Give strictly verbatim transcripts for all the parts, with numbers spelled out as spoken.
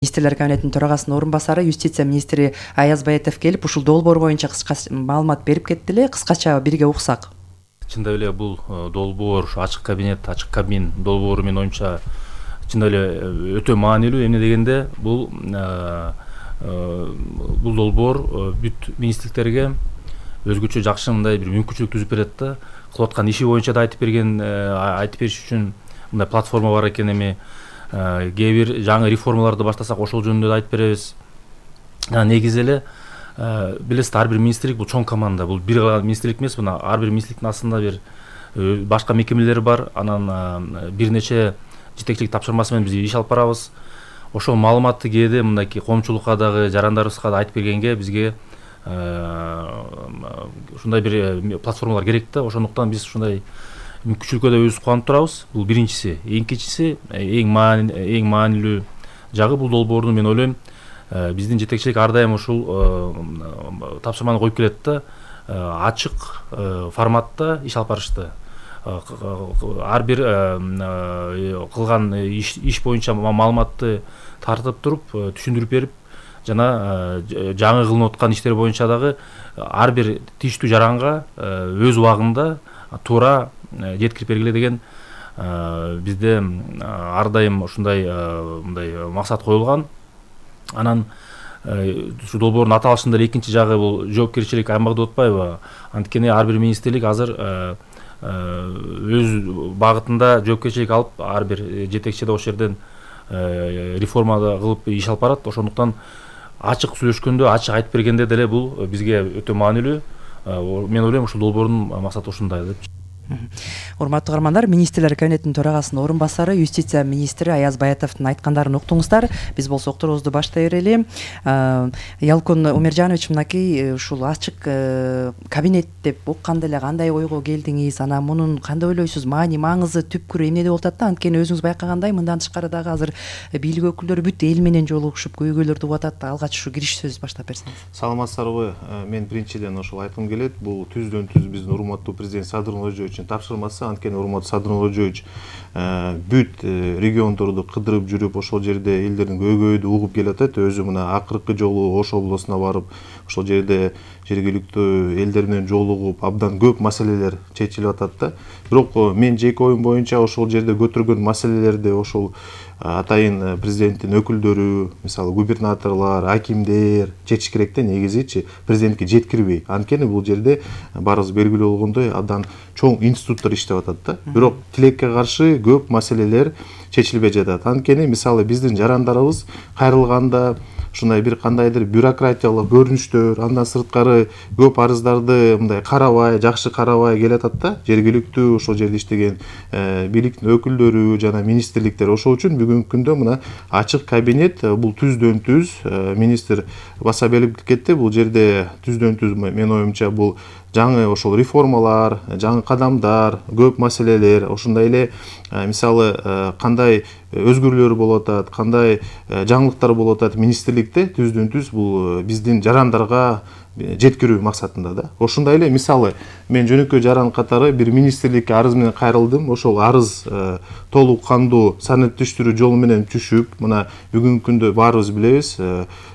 Министрлер кабинетинин төрагасынын орун басары юстиция министри Аяз Баятов келип ушул долбоор боюнча кыска маалымат берип кетти эле. Кыскача бирге уксак. Чындап эле бул долбоор, ачык кабинет, ачык кабин долбоору менин оюмча чындап эле өтө маанилүү. Эмне дегенде бул бул долбоор бүт министрликтерге өзгөчө жакшы мындай бир мүмкүнчүлүк түзүп берет да. Кылып аткан иши боюнча да айтып берген, айтып бериш үчүн мындай платформа бар экен. Эми кээ бир жаңы реформаларды баштасак ошол жөнүндө да айтып беребиз. Негизи эле билесиз, ар бир министрлик бул чоң команда, бул бир гана министрлик эмес, мына ар бир министрликтин астында бир башка мекемелери бар, анан бир нече жетекчилик тапшырмасы менен биз иш алып барабыз. Ошол маалыматты кээде мындайки коомчулукка дагы, жарандарыбызга да айтып бергенге бизге ушундай бир платформалар керек да. Ошондуктан биз ушундай мүмкүнчүлүккө да өзүбүз кубанып турабыз. Бул биринчиси. Экинчиси, эң маани эң маанилүү жагы бул долбоордун, мен ойлойм, биздин жетекчилик ар дайым ушул тапшырманы коюп келет да, ачык форматта иш алып барышты. Ар бир кылган иш боюнча маалыматты тартып туруп, түшүндүрүп берип, жана жаңы кылынып аткан иштер боюнча дагы ар бир тийиштүү жаранга өз убагында туура жеткирип бергиле деген бизде ар дайым ушундай мындай максат коюлган. Анан ушу долбоордун аталышында эле экинчи жагы бул жоопкерчилик аймагы деп атпайбы? Анткени ар бир министрлик азыр өз багытында жоопкерчилик алып, ар бир жетекчи да ошол жерден реформада кылып иш алып барат. Ошондуктан ачык сүйлөшкөндө, ачык айтып бергенде деле бул бизге өтө маанилүү. Мен ойлойм, ушул долбоордун максаты ушундай деп. Урматтуу каармандар, министрлер кабинетинин төрагасынын орун басары юстиция министри Аяз Баятовдун айткандарын уктуңуздар. Биз болсо уктуруубузду баштай берели. Ялкон Умержанович, мынакей ушул ачык кабинет деп укканда эле кандай ойго келдиңиз? Анан мунун кандай ойлойсуз? Маани, маңызы, түпкүрү эмнеде болуп атат да? Анткени өзүңүз байкагандай, мындан тышкары дагы азыр бийлик өкүлдөрү бүт эл менен жолугушуп, көйгөйлөрдү угуп атат. Алгач ушу кириш сөз баштап берсеңиз. Саламатсыздарбы? Мен биринчиден ошол айткым келет. Бул түздөн түз биздин урматтуу президент Садыр Нуркожоевичтин тапшырмасы. Анткени урматтуу Садыр Нуркожоевич бүт региондорду кыдырып жүрүп, ошол жерде элдердин көйгөйдү угуп келатат. Өзү мына акыркы жолу Ош областына барып, ошол жерде жергиликтүү элдер менен жолугуп, абдан көп маселелер чечилип атат да. Бирок мен жеке оюм боюнча ошол жерде көтөргөн маселелерди ошол атайын президенттин өкүлдөрү, мисалы губернаторлор, акимдер чечиш керек да, негизичи президентке жеткирбей. Анткени бул жерде барыбыз белгилүү болгондой абдан чоң институттар иштеп атат да. Бирок тилекке каршы көп маселелер чечилбей жатат. Анткени мисалы биздин жарандарыбыз кайрылганда ушундай бир кандайдыр бюрократиялык көрүнүштөр, андан сырткары көп арыздарды мындай карабай, жакшы карабай келатат да. Жергиликтүү ошол жерде иштеген бийликтин өкүлдөрү жана министрликтер. Ошол үчүн бүгүнкү күндө мына ачык кабинет бул түздөн түз министр баса белгилеп кетти. Бул жерде түздөн түз менин оюмча бул жаңы ошол реформалар, жаңы кадамдар, көп маселелер, ошондой эле мисалы кандай өзгөрүүлөр болуп атат, кандай жаңылыктар болуп атат министрликте түздөн түз бул биздин жарандарга жеткирүү максатында да. Ошондой эле мисалы мен жөнөкөй жаран катары бир министрликке арыз менен кайрылдым. Ошол арыз толук кандуу санаттештирүү жолу менен түшүп, мына бүгүнкү күндө баарыбыз билебиз,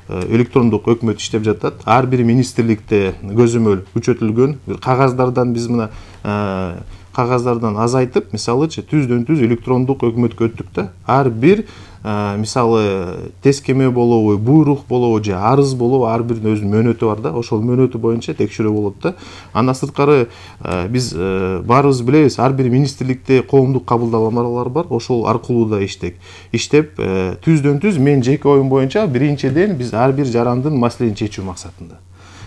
электрондук өкмөт иштеп жатат. Ар бир министрликте көзөмөл күчөтүлгөн. Кагаздардан биз мына кагаздардан азайтып, мисалычы түздөн түз электрондук өкмөткө өттүк да. Ар бир мисалы тескеме болобу, буйрук болобу же арыз болобу, ар биринин өзүнүн мөөнөтү бар да. Ошол мөөнөтү боюнча текшерүү болот да. Андан сырткары биз баарыбыз билебиз, ар бир министрликте коомдук кабылдамалар бар. Ошол аркылуу да иштек. Иштеп түздөн түз мен жеке оюм боюнча биринчиден биз ар бир жарандын маселесин чечүү максатында.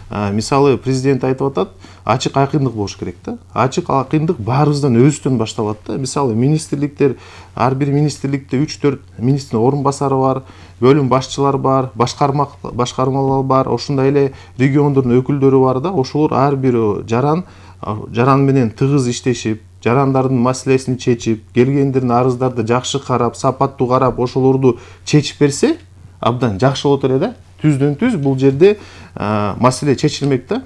Мисалы президент айтып атат, ачык акындык болуш керек да. Ачык акындык баарыбыздан өзүбүздөн башталат да. Мисалы министрликтер, ар бир министрликте үч төрт министрдин орун басары бар, бөлүм башчылар бар, башкарма башкармалар бар, ошондой эле региондордун өкүлдөрү бар да. Ошолор ар бир жаран жаран менен тыгыз иштешип, жарандардын маселесин чечип, келгендердин арыздарды жакшы карап, сапаттуу карап, ошолорду чечип берсе, абдан жакшы болот эле да. түздөн түз бул жерде маселе чечилмек да.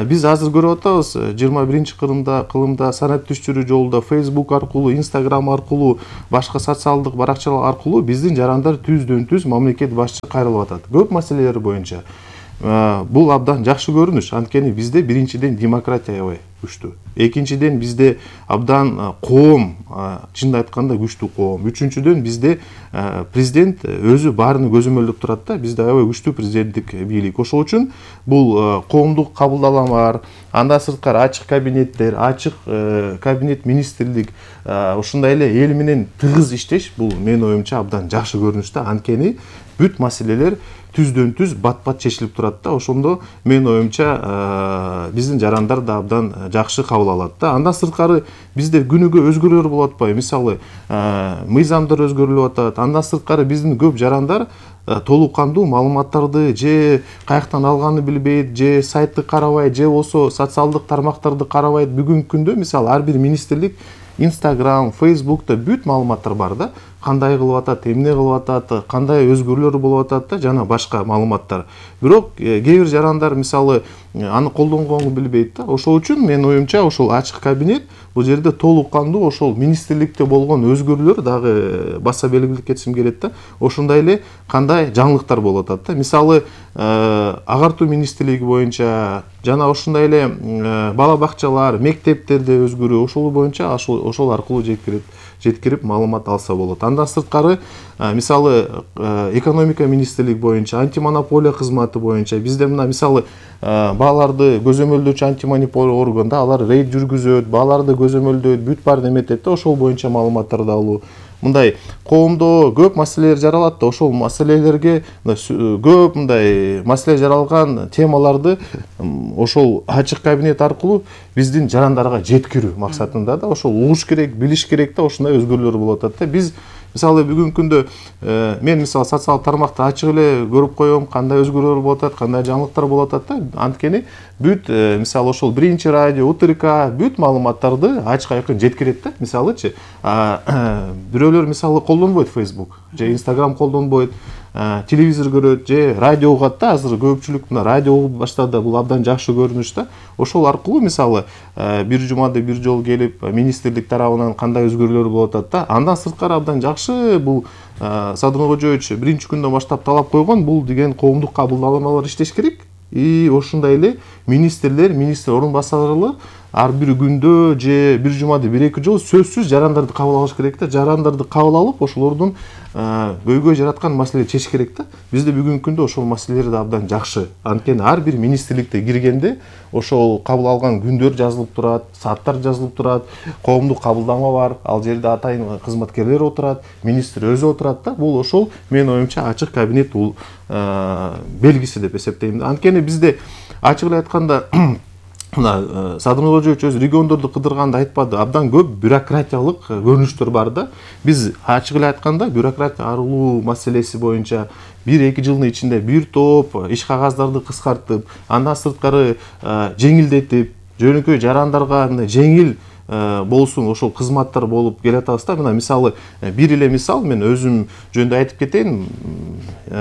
Биз азыр көрүп атабыз жыйырма биринчи кылымда кылымда санаттештирүү жолунда Facebook аркылуу, Instagram аркылуу, башка социалдык баракчалар аркылуу биздин жарандар түздөн түз мамлекет башчы кайрылып атат. Көп маселелер боюнча. Бул абдан жакшы көрүнүш. Анткени бизде биринчиден демократия аябай күчтүү. Экинчиден бизде абдан коом, чынын айтканда күчтүү коом. Үчүнчүдөн бизде президент өзү баарын көзөмөлдөп турат да. Бизде аябай күчтүү президенттик бийлик. Ошол үчүн бул коомдук кабылдаламалар, андан сырткары ачык кабинеттер, ачык кабинет министрлик, ушундай эле эл менен тыгыз иштеш бул менин оюмча абдан жакшы көрүнүш да. Анткени бүт маселелер түздөн түз бат-бат чечилип турат да. Ошондо менин оюмча биздин жарандар да абдан жакшы кабыл алат да. Андан сырткары бизде күнүгө өзгөрүүлөр болуп атпайбы? Мисалы, мыйзамдар өзгөрүлүп атат. Андан сырткары биздин көп жарандар толук кандуу маалыматтарды же каяктан алганын билбейт, же сайтты карабайт, же болсо социалдык тармактарды карабайт. Бүгүнкү күндө мисалы ар бир министрлик Instagram, Facebook'ta бүт маалыматтар бар да. Кандай кылып атат, эмне кылып атат, кандай өзгөрүүлөр болуп атат да, жана башка маалыматтар. Бирок кээ бир жарандар мисалы аны колдонгонду билбейт да. Ошол үчүн менин оюмча ошол ачык кабинет бул жерде толук кандуу ошол министрликте болгон өзгөрүүлөр дагы баса белгилеп кетсем келет да. Ошондой эле кандай жаңылыктар болуп атат да. Мисалы агартуу министрлиги боюнча жана ошондой эле бала бакчалар, мектептерде өзгөрүү ошол боюнча ошол ошол аркылуу жеткирип жеткирип маалымат алса болот. Андан сырткары мисалы экономика министрлиги боюнча, антимонополия кызматы боюнча бизде мына мисалы бааларды көзөмөлдөөчү антимонополия органда алар рейд жүргүзөт, бааларды көзөмөлдөйт, бүт баарын эметет да, ошол боюнча маалыматтарды алуу. Мындай коомдо көп маселелер жаралат да, ошол маселелерге көп мындай маселе жаралган темаларды ошол ачык кабинет аркылуу биздин жарандарга жеткирүү максатында да ошол угуш керек, билиш керек да, ошондой өзгөрүүлөр болуп атат да. Биз мисалы бүгүнкү күндө мен мисалы социалдык тармакты ачык эле көрүп коем, кандай өзгөрүүлөр болуп атат, кандай жаңылыктар болуп атат да. Анткени бүт мисалы ошол биринчи радио, УТРК бүт маалыматтарды ачык айкын жеткирет да. Мисалычы бирөөлөр мисалы колдонбойт Facebook же Instagram колдонбойт, телевизор көрөт же радио угат да. Азыр көпчүлүк мына радио угуп баштады, бул абдан жакшы көрүнүш да. Ошол аркылуу мисалы бир жумада бир жолу келип министрлик тарабынан кандай өзгөрүүлөр болуп атат да. Андан сырткары абдан жакшы бул Садыр Кожоевич биринчи күндөн баштап талап койгон, бул деген коомдук кабылдаламалар иштеш керек. И ошондой эле министрлер, министр орун басарлары ар бир күндө же бир жумада бир эки жолу сөзсүз жарандарды кабыл алыш керек да. Жарандарды кабыл алып, ошолордун көйгөй жараткан маселе чечиш керек да. Бизде бүгүнкү күндө ошол маселелер да абдан жакшы. Анткени ар бир министрликте киргенде ошол кабыл алган күндөр жазылып турат, сааттар жазылып турат, коомдук кабылдама бар, ал жерде атайын кызматкерлер отурат, министр өзү отурат да. Бул ошол менин оюмча ачык кабинет бул белгиси деп эсептейм. Анткени бизде ачык эле айтканда мына Садыр Кожоевич өзү региондорду кыдырганда айтпады, абдан көп бюрократиялык көрүнүштөр бар да. Биз ачык эле айтканда бюрократия арылуу маселеси боюнча бир эки жылдын ичинде бир топ иш кагаздарды кыскартып, андан сырткары жеңилдетип, жөнөкөй жарандарга жеңил болсун ошол кызматтар болуп келатабыз да. Мына мисалы бир эле мисал мен өзүм жөнүндө айтып кетейин.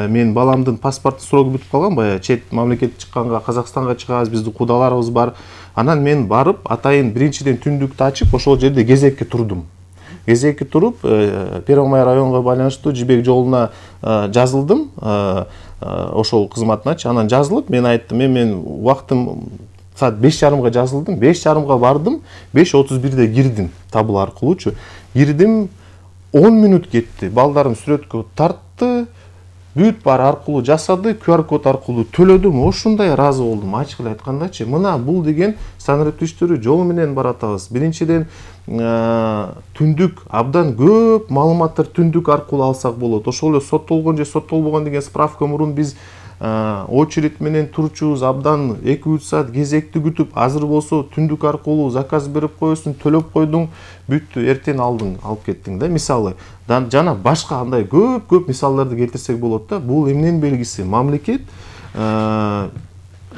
Мен баламдын паспорттун срогу бүтүп калган, баягы чет мамлекетке чыкканга, Казакстанга чыгабыз, биздин кудаларыбыз бар. Анан мен барып атайын биринчиден түндүктү ачып ошол жерде кезекке турдум. Кезекке туруп Первомай районго байланыштуу жибек жолуна жазылдым, ошол кызматыначы. Анан жазылып мен айттым, мен мен убактым саат беш жарымга жазылдым, беш жарымга бардым, беш отуз бирде кирдим табыл аркылуучу. Кирдим, он мүнөт кетти. Балдарым сүрөткө тартты, бүт бар аркылуу жасады, ку ар код аркылуу төлөдүм. Ошондой ыраазы болдум, ачык эле айткандачы. Мына бул деген санаттештирүү жолу менен баратабыз. Биринчиден түндүк абдан көп маалыматтар түндүк аркылуу алсак болот. Ошол эле соттолгон же соттолбогон деген справка мурун биз очередь менен турчубуз, абдан эки үч саат кезекти күтүп, азыр болсо түндүк аркылуу заказ берип коесуң, төлөп койдуң, бүт эртең алдың, алып кеттиң да. Мисалы жана башка андай көп-көп мисалдарды келтирсек болот да. Бул эмненин белгиси? Мамлекет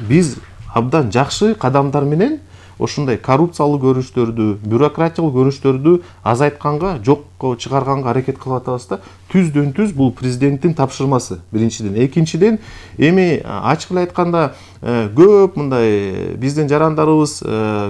биз абдан жакшы кадамдар менен ошондой коррупциялык көрүнүштөрдү, бюрократиялык көрүнүштөрдү азайтканга, жокко чыгарганга аракет кылып атабыз да. түздөн түз бул президенттин тапшырмасы биринчиден. Экинчиден эми ачык эле айтканда көп мындай биздин жарандарыбыз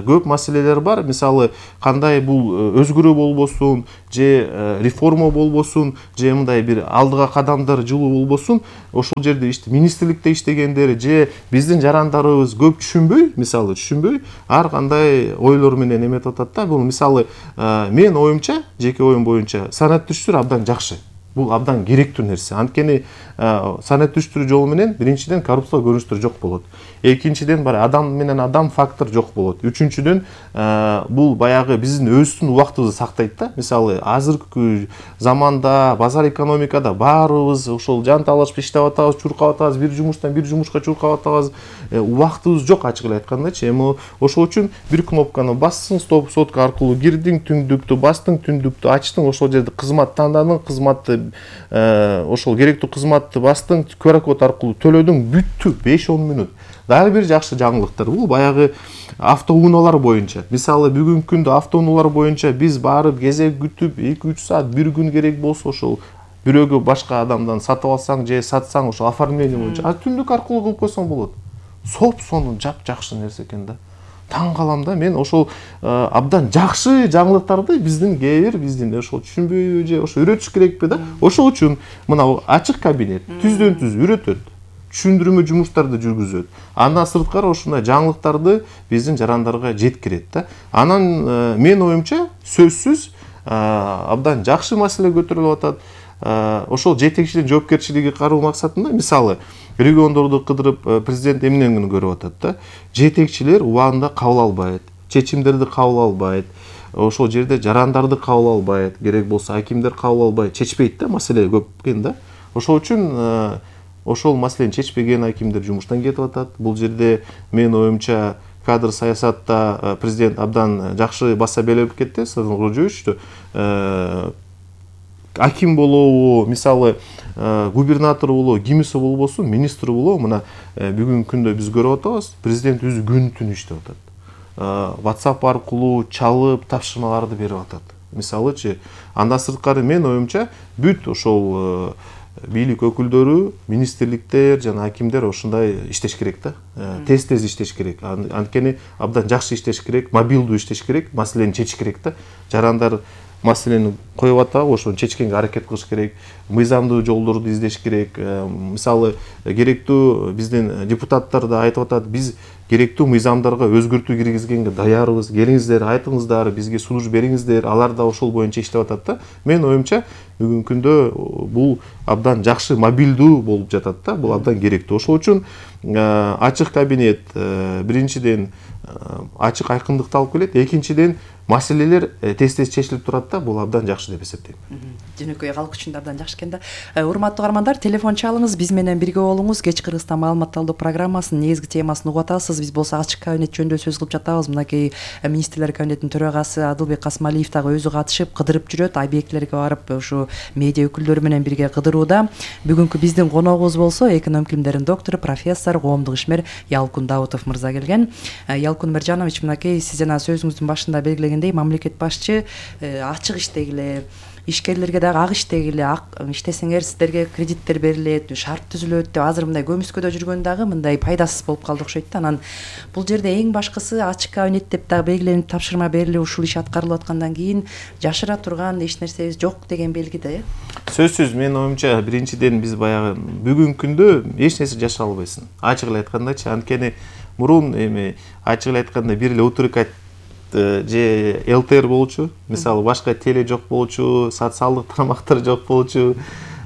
көп маселелер бар. Мисалы кандай бул өзгөрүү болбосун, же реформа болбосун, же мындай бир алдыга кадамдар жылуу болбосун, ошол жерде иште министрликте иштегендер же биздин жарандарыбыз көп түшүнбөй, мисалы түшүнбөй ар кандай ойлор менен эметип атат да. Бул мисалы мен оюмча, жеке оюм боюнча санаттүштүр абдан жакшы. Бул абдан керектүү нерсе. Анткени санаттүштүрүү жолу менен биринчиден коррупция көрүнүштөр жок болот. Экинчиден бар адам менен адам фактор жок болот. Үчүнчүдөн бул баягы биздин өзүбүздүн убактыбызды сактайт да. Мисалы азыркы заманда базар экономикада баарыбыз ошол жан талашып иштеп атабыз, чуркап атабыз, бир жумуштан бир жумушка чуркап атабыз. Убактыбыз жок ачык эле айткандачы. Эми ошол үчүн бир кнопканы бассың, стоп сотка аркылуу кирдиң, түндүктү бастың, түндүктү ачтың, ошол жерде кызмат тандадың, кызматты ошол керектүү кызматты бастың, ку ар код аркылуу төлөдүң, бүттү. беш он мүнөт. Дагы бир жакшы жаңылыктар бул баягы автоунаалар боюнча. Мисалы бүгүнкү күндө автоунаалар боюнча биз барып кезек күтүп эки үч саат, бир күн керек болсо ошол бирөөгө башка адамдан сатып алсаң же сатсаң ошол оформление боюнча а түндүк аркылуу кылып койсоң болот. Соп-сону жап-жакшы нерсе экен да. Таң калам да мен ошол абдан жакшы жаңылыктарды биздин кээ бир биздин ошол түшүнбөйбү же ошо үйрөтүш керекпи да. Ошол үчүн мына ачык кабинет түздөн түз үйрөтөт, түшүндүрмө жумуштарды жүргүзөт. Андан сырткары ошондой жаңылыктарды биздин жарандарга жеткирет да. Анан мен оюмча сөзсүз абдан жакшы маселе көтөрүлүп атат. Ошол жетекчиликтин жоопкерчилиги кароо максатында мисалы региондорду кыдырып президент эмнени көрүп атат да. Жетекчилер убагында кабыл албайт, чечимдерди кабыл албайт, ошол жерде жарандарды кабыл албайт, керек болсо акимдер кабыл албайт, чечпейт да, маселе көп экен да. Ошол үчүн ошол маселени чечпеген акимдер жумуштан кетип атат. Бул жерде мен оюмча кадр саясатта президент абдан жакшы баса белгилеп кетти, Садыр Кожоевичту. Аким болобу, мисалы губернатор болобу, кимиси болбосун, министр болобу, мына бүгүнкү күндө биз көрүп атабыз, президент өзү күн түн иштеп атат. WhatsApp аркылуу чалып тапшырмаларды берип атат. Мисалычы, андан сырткары мен оюмча бүт ошол бийлик өкүлдөрү, министрликтер жана акимдер ошондой иштеш керек да. Тез-тез иштеш керек. Анткени абдан жакшы иштеш керек, мобилдүү иштеш керек, маселени чечиш керек да. Жарандар маселени коюп атабы, ошону чечкенге аракет кылыш керек, мыйзамдуу жолдорду издеш керек. Мисалы керектүү биздин депутаттар да айтып атат, биз керектүү мыйзамдарга өзгөртүү киргизгенге даярбыз, келиңиздер, айтыңыздар, бизге сунуш бериңиздер, алар да ошол боюнча иштеп атат да. Мен оюмча бүгүнкү күндө бул абдан жакшы мобилдүү болуп жатат да, бул абдан керектүү. Ошол үчүн ачык кабинет биринчиден ачык айкындыкты алып келет, экинчиден маселелер тез-тез чечилип турат да, бул абдан жакшы деп эсептейм. Жөнөкөй калк үчүн да абдан жакшы экен да. Урматтуу каармандар, телефон чалыңыз, биз менен бирге болуңуз. Кеч Кыргызстан маалымат алуу программасынын негизги темасын угуп атасыз. Биз болсо ачык кабинет жөнүндө сөз кылып жатабыз. Мынакей министрлер кабинетинин төрагасы Адылбек Касмалиев дагы өзү катышып, кыдырып жүрөт, объектилерге барып, ушу медиа өкүлдөрү менен бирге кыдырууда. Бүгүнкү биздин коногубуз болсо экономика илимдеринин доктору, профессор, коомдук ишмер Ялкун Даутов мырза келген. Ялкун Мыржанович, мынакей сиз жана сөзүңүздүн башында белгилегендей, мамлекет башчы ачык иштегиле, ишкерлерге дагы ак иштегиле, иштесеңер сиздерге кредиттер берилет, шарт түзүлөт деп азыр мындай көмүскөдө жүргөн дагы мындай пайдасыз болуп калды окшойт да. Анан бул жерде эң башкысы ачык кабинет деп дагы белгиленип тапшырма берилип ушул иш аткарылып аткандан кийин жашыра турган эч нерсебиз жок деген белги да, э? Сөзсүз мен оюмча биринчиден биз баягы бүгүнкү күндө эч нерсе жашыра албайсың. Ачык эле айткандачы, анткени мурун эми ачык эле айтканда бир эле утрк же эл тэ эр болчу, мисалы башка теле жок болчу, социалдык тармактар жок болчу.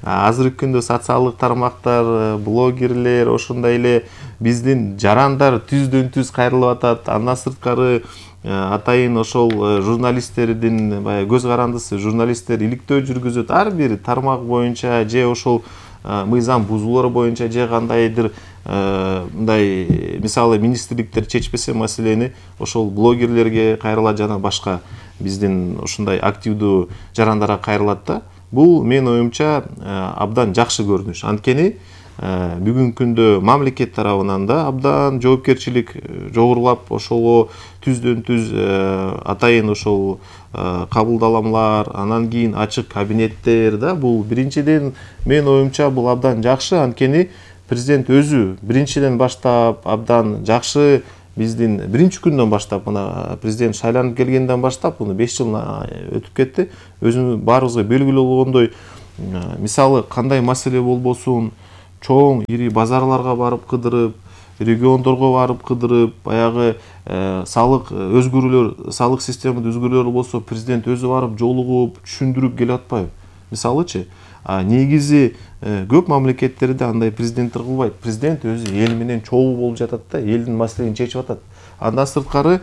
Азыркы күндө социалдык тармактар, блогерлер, ошондой эле биздин жарандар түздөн түз кайрылып атат. Андан сырткары атайын ошол журналисттердин баягы көз карандысы, журналисттер иликтөө жүргүзөт ар бир тармак боюнча же ошол мыйзам бузуулар боюнча же кандайдыр мындай мисалы министрликтер чечпесе маселени ошол блогерлерге кайрылат жана башка биздин ушундай активдүү жарандарга кайрылат да. Бул мен оюмча абдан жакшы көрүнүш. Анткени бүгүнкү күндө мамлекет тарабынан да абдан жоопкерчилик жогорулап ошого түздөн түз атайын ошол кабылдаламалар, анан кийин ачык кабинеттер да, бул биринчиден менин оюмча бул абдан жакшы. Анткени президент өзү биринчиден баштап абдан жакшы, биздин биринчи күндөн баштап, мына президент шайланып келгенден баштап, муну беш жыл өтүп кетти. Өзү баарыбызга белгилүү болгондой, мисалы кандай маселе болбосун, чоң ири базарларга барып кыдырып, региондорго барып кыдырып, баягы салык өзгөрүүлөр, салык системада өзгөрүүлөр болсо, президент өзү барып жолугуп, түшүндүрүп келип атпайбы? Мисалычы, негизи көп мамлекеттерде андай президенттер кылбайт. Президент өзү эл менен чогуу болуп жатат да, элдин маселени чечип атат. Андан сырткары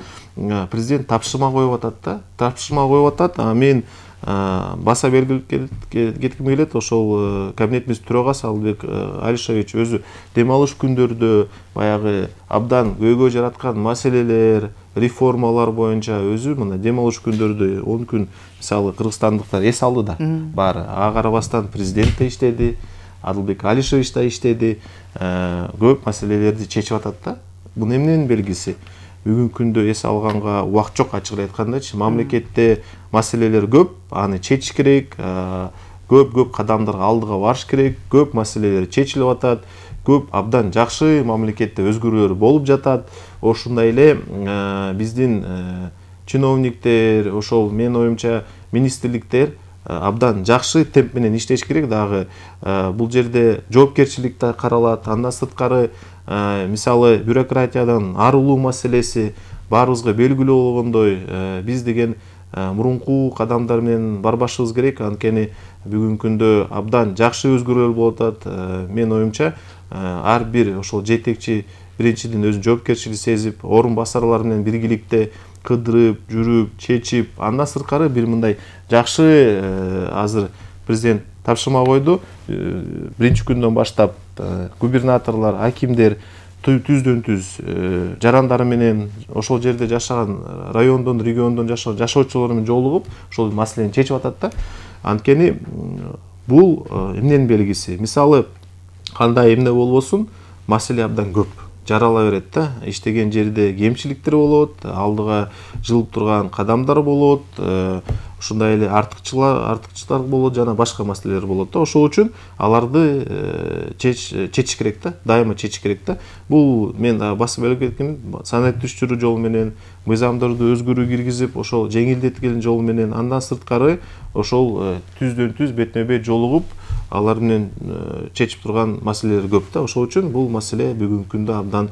президент тапшырма коюп атат да, тапшырма коюп атат. Мен баса белгилеп кетким келет, ошол кабинетибиздин төрагасы Албек Алишевич өзү дем алыш күндөрдө баягы абдан көйгөй жараткан маселелер, реформалар боюнча өзү мына дем алыш күндөрдө он күн мисалы кыргызстандыктар эс алды да, баары. Ага карабастан президент да иштеди, Албек Алишевич да иштеди, көп маселелерди чечип атат да. Бул эмненин белгиси? Бүгүнкү күндө эс алганга убакыт жок, ачык айткандачы. Мамлекетте маселелер көп, аны чечиш керек, көп-көп кадамдарга алдыга барыш керек, көп маселелер чечилип атат, көп абдан жакшы мамлекетте өзгөрүүлөр болуп жатат. Ошондой эле биздин чиновниктер, ошол менин оюмча министрликтер абдан жакшы темп менен иштеш керек. Дагы бул жерде жоопкерчилик да каралат. Андан сырткары мисалы бюрократиядан арылуу маселеси баарыбызга белгилүү болгондой, биз деген мурунку кадамдар менен барбашыбыз керек. Анткени бүгүнкү күндө абдан жакшы өзгөрүүлөр болуп атат. Менин оюмча ар бир ошол жетекчи биринчиден өзүнүн жоопкерчилигин сезип, орун басарлар менен биргиликте кыдырып, жүрүп, чечип, андан сырткары бир мындай жакшы азыр президент тапшырма койду. Биринчи күндөн баштап губернаторлор, акимдер түздөн түз жарандары менен ошол жерде жашаган райондон, региондон жашаган жашоочулар менен жолугуп, ошол маселени чечип атат да. Анткени бул эмненин белгиси? Мисалы кандай эмне болбосун, маселе абдан көп жарала берет да. Иштеген жерде кемчиликтер болот, алдыга жылып турган кадамдар болот, ушундай эле артыкчылар, артыкчылар болот, жана башка маселелер болот да. Ошол үчүн аларды чечиш керек да, дайыма чечиш керек да. Бул мен басып белгилеп кеткем, санариптештирүү жолу менен, мыйзамдарды өзгөрүү киргизип, ошол жеңилдетилген жол менен, андан сырткары ошол түздөн түз бетме бет жолугуп, алар менен чечип турган маселелер көп да. Ошол үчүн бул маселе бүгүнкү күндө абдан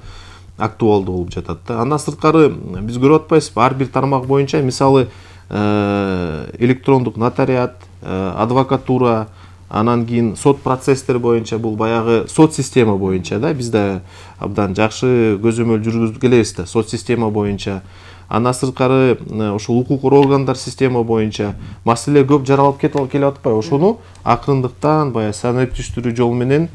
актуалдуу болуп жатат да. Андан сырткары биз көрүп атпайсызбы, ар бир тармак боюнча мисалы электрондук нотариат, адвокатура, анан кийин сот процесстер боюнча, бул баягы сот система боюнча да, биз да абдан жакшы көзөмөл жүргүзүп келебиз да, сот система боюнча. Андан сырткары ошол укук органдар система боюнча маселе көп жаралып келип атпайбы? Ошону акырындыктан баягы санариптештирүү жолу менен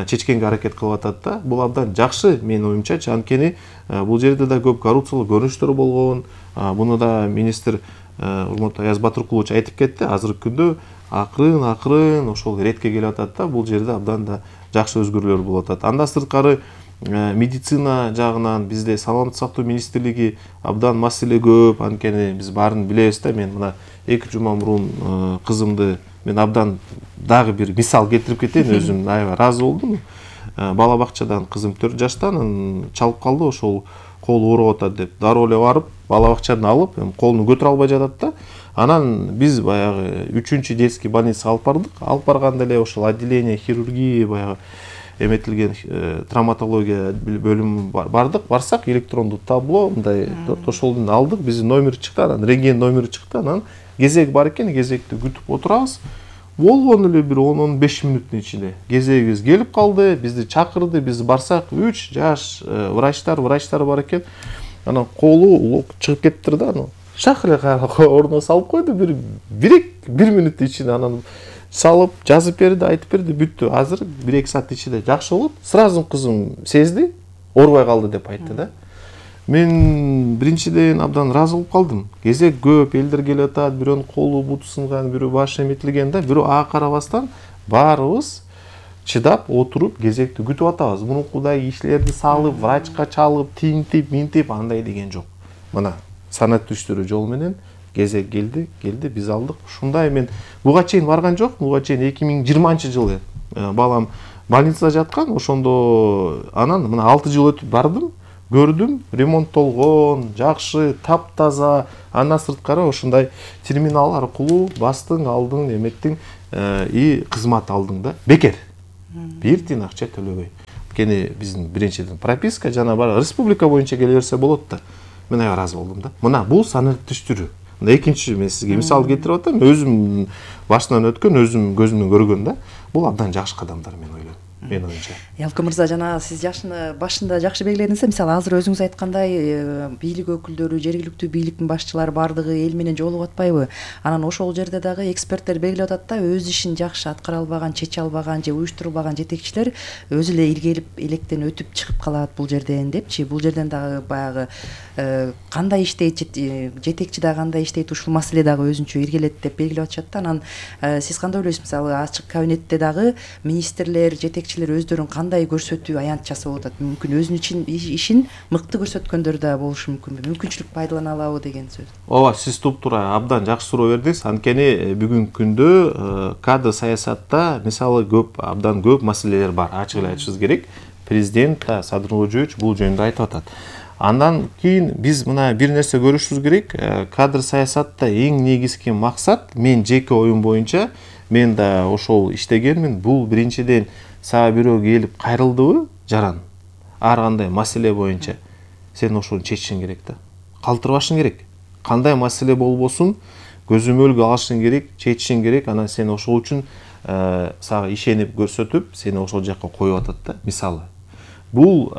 чечкенге аракет кылып атат да. Бул абдан жакшы менин оюмчачы. Анткени бул жерде да көп коррупциялык көрүнүштөр болгон. Буну да министр урматтуу Аяз Батыркулович айтып кетти. Азыркы күндө акырын акырын ошол ретке келип атат да. Бул жерде абдан да жакшы өзгөрүүлөр болуп атат. Андан сырткары медицина жагынан бизде саламаттык сактоо министрлиги абдан маселе көп. Анткени биз баарын билебиз да. Мен мына эки жума мурун кызымды мен абдан дагы бир мисал келтирип кетейин, өзүм аябай ыраазы болдум. Бала бакчадан кызым төрт жашта, анан чалып калды, ошол колу ооруп атат деп дароо эле барып бала бакчадан алып, колуну көтөрө албай жатат да. Анан биз баягы үчүнчү детский больницага алып бардык. Алып барганда эле ошол отделение хирургия, баягы эметилген травматология бөлүмү бардык. Барсак электрондук табло мындай ошолдон алдык, биздин номер чыкты, анан рентген номери чыкты, анан кезек бар экен, кезекти күтүп отурабыз. Болгон эле бир он он беш мүнөттүн ичинде кезегибиз келип калды, бизди чакырды, биз барсак үч жаш врачтар, врачтар бар экен. Анан колу чыгып кетиптир да, анан шак эле ордуна салып койду, бир бир бир мүнөттүн ичинде анан салып, жазып берди, айтып берди, бүттү. Азыр бир эки саат ичинде жакшы болот. Сразу кызым сезди, оорубай калды деп айтты да. Мен биринчиден абдан ыраазы болуп калдым. Кезек көп, элдер келип атат, бирөөнүн колу буту сынган, бирөө башы эметилген да, бирөө ага карабастан баарыбыз чыдап отуруп кезекти күтүп атабыз. Мурункудай кишилерди салып, врачка чалып, тинтип, минтип андай деген жок. Мына санат түштүрүү жол менен кезек келди, келди, биз алдык. Ушундай мен буга чейин барган жок, буга чейин эки миң жыйырманчы жылы балам больницада жаткан, ошондо анан мына алты жыл өтүп бардым, көрдүм, ремонттолгон, жакшы, таптаза, андан сырткары ушундай терминал аркылуу бастың, алдың, эметтиң и кызмат алдың да. Бекер. Бир тиын акча төлөбөй. Кени биздин биринчиден прописка жана бар республика боюнча келе берсе болот да. Мен ыраазы болдум да. Мына бул санат түштүрүү. Мына экинчи мен сизге мисал келтирип атам. Өзүм башынан өткөн, өзүм көзүмдөн көргөн да. Бул абдан жакшы кадамдар мен ойлойм. Мен оюмча. Ялкын мырза, жана сиз жашыны башында жакшы белгиледиңиз, мисалы азыр өзүңүз айткандай бийлик өкүлдөрү, жергиликтүү бийликтин башчылары бардыгы эл менен жолугуп атпайбы? Анан ошол жерде дагы эксперттер белгилеп атат да, өз ишин жакшы аткара албаган, чече албаган же уюштурулбаган жетекчилер өзү эле иргелип, электен өтүп чыгып калат бул жерден депчи. Бул жерден дагы баягы кандай иштейт, жетекчи дагы кандай иштейт, ушул маселе дагы өзүнчө иргелет деп белгилеп атышат да. Анан сиз кандай ойлойсуз? Мисалы ачык кабинетте дагы министрлер, жетекчилер өздөрүн кандай көрсөтүү аянт жасап атат? Мүмкүн өзүнүн ишин мыкты көрсөткөндөр да болушу мүмкүнбү? Мүмкүнчүлүк пайдалана алабы деген сөз. Ооба, сиз туп-туура абдан жакшы суроо бердиңиз. Анткени бүгүнкү күндө кадр саясатта мисалы көп, абдан көп маселелер бар. Ачык эле айтышыбыз керек. Президент Садыр Ноолжоевич бул жөнүндө айтып атат. Андан кийин биз мына бир нерсе көрүшүбүз керек. Кадр саясатта эң негизги максат, мен жеке оюм боюнча, мен да ошол иштегенмин. Бул биринчиден сага бирөө келип кайрылдыбы, жаран. Ар кандай маселе боюнча сен ошону чечишиң керек да. Калтырбашың керек. Кандай маселе болбосун, көзөмөлгө алышың керек, чечишиң керек. Анан сен ошол үчүн сага ишенип көрсөтүп, сени ошол жакка коюп атат да. Мисалы, бул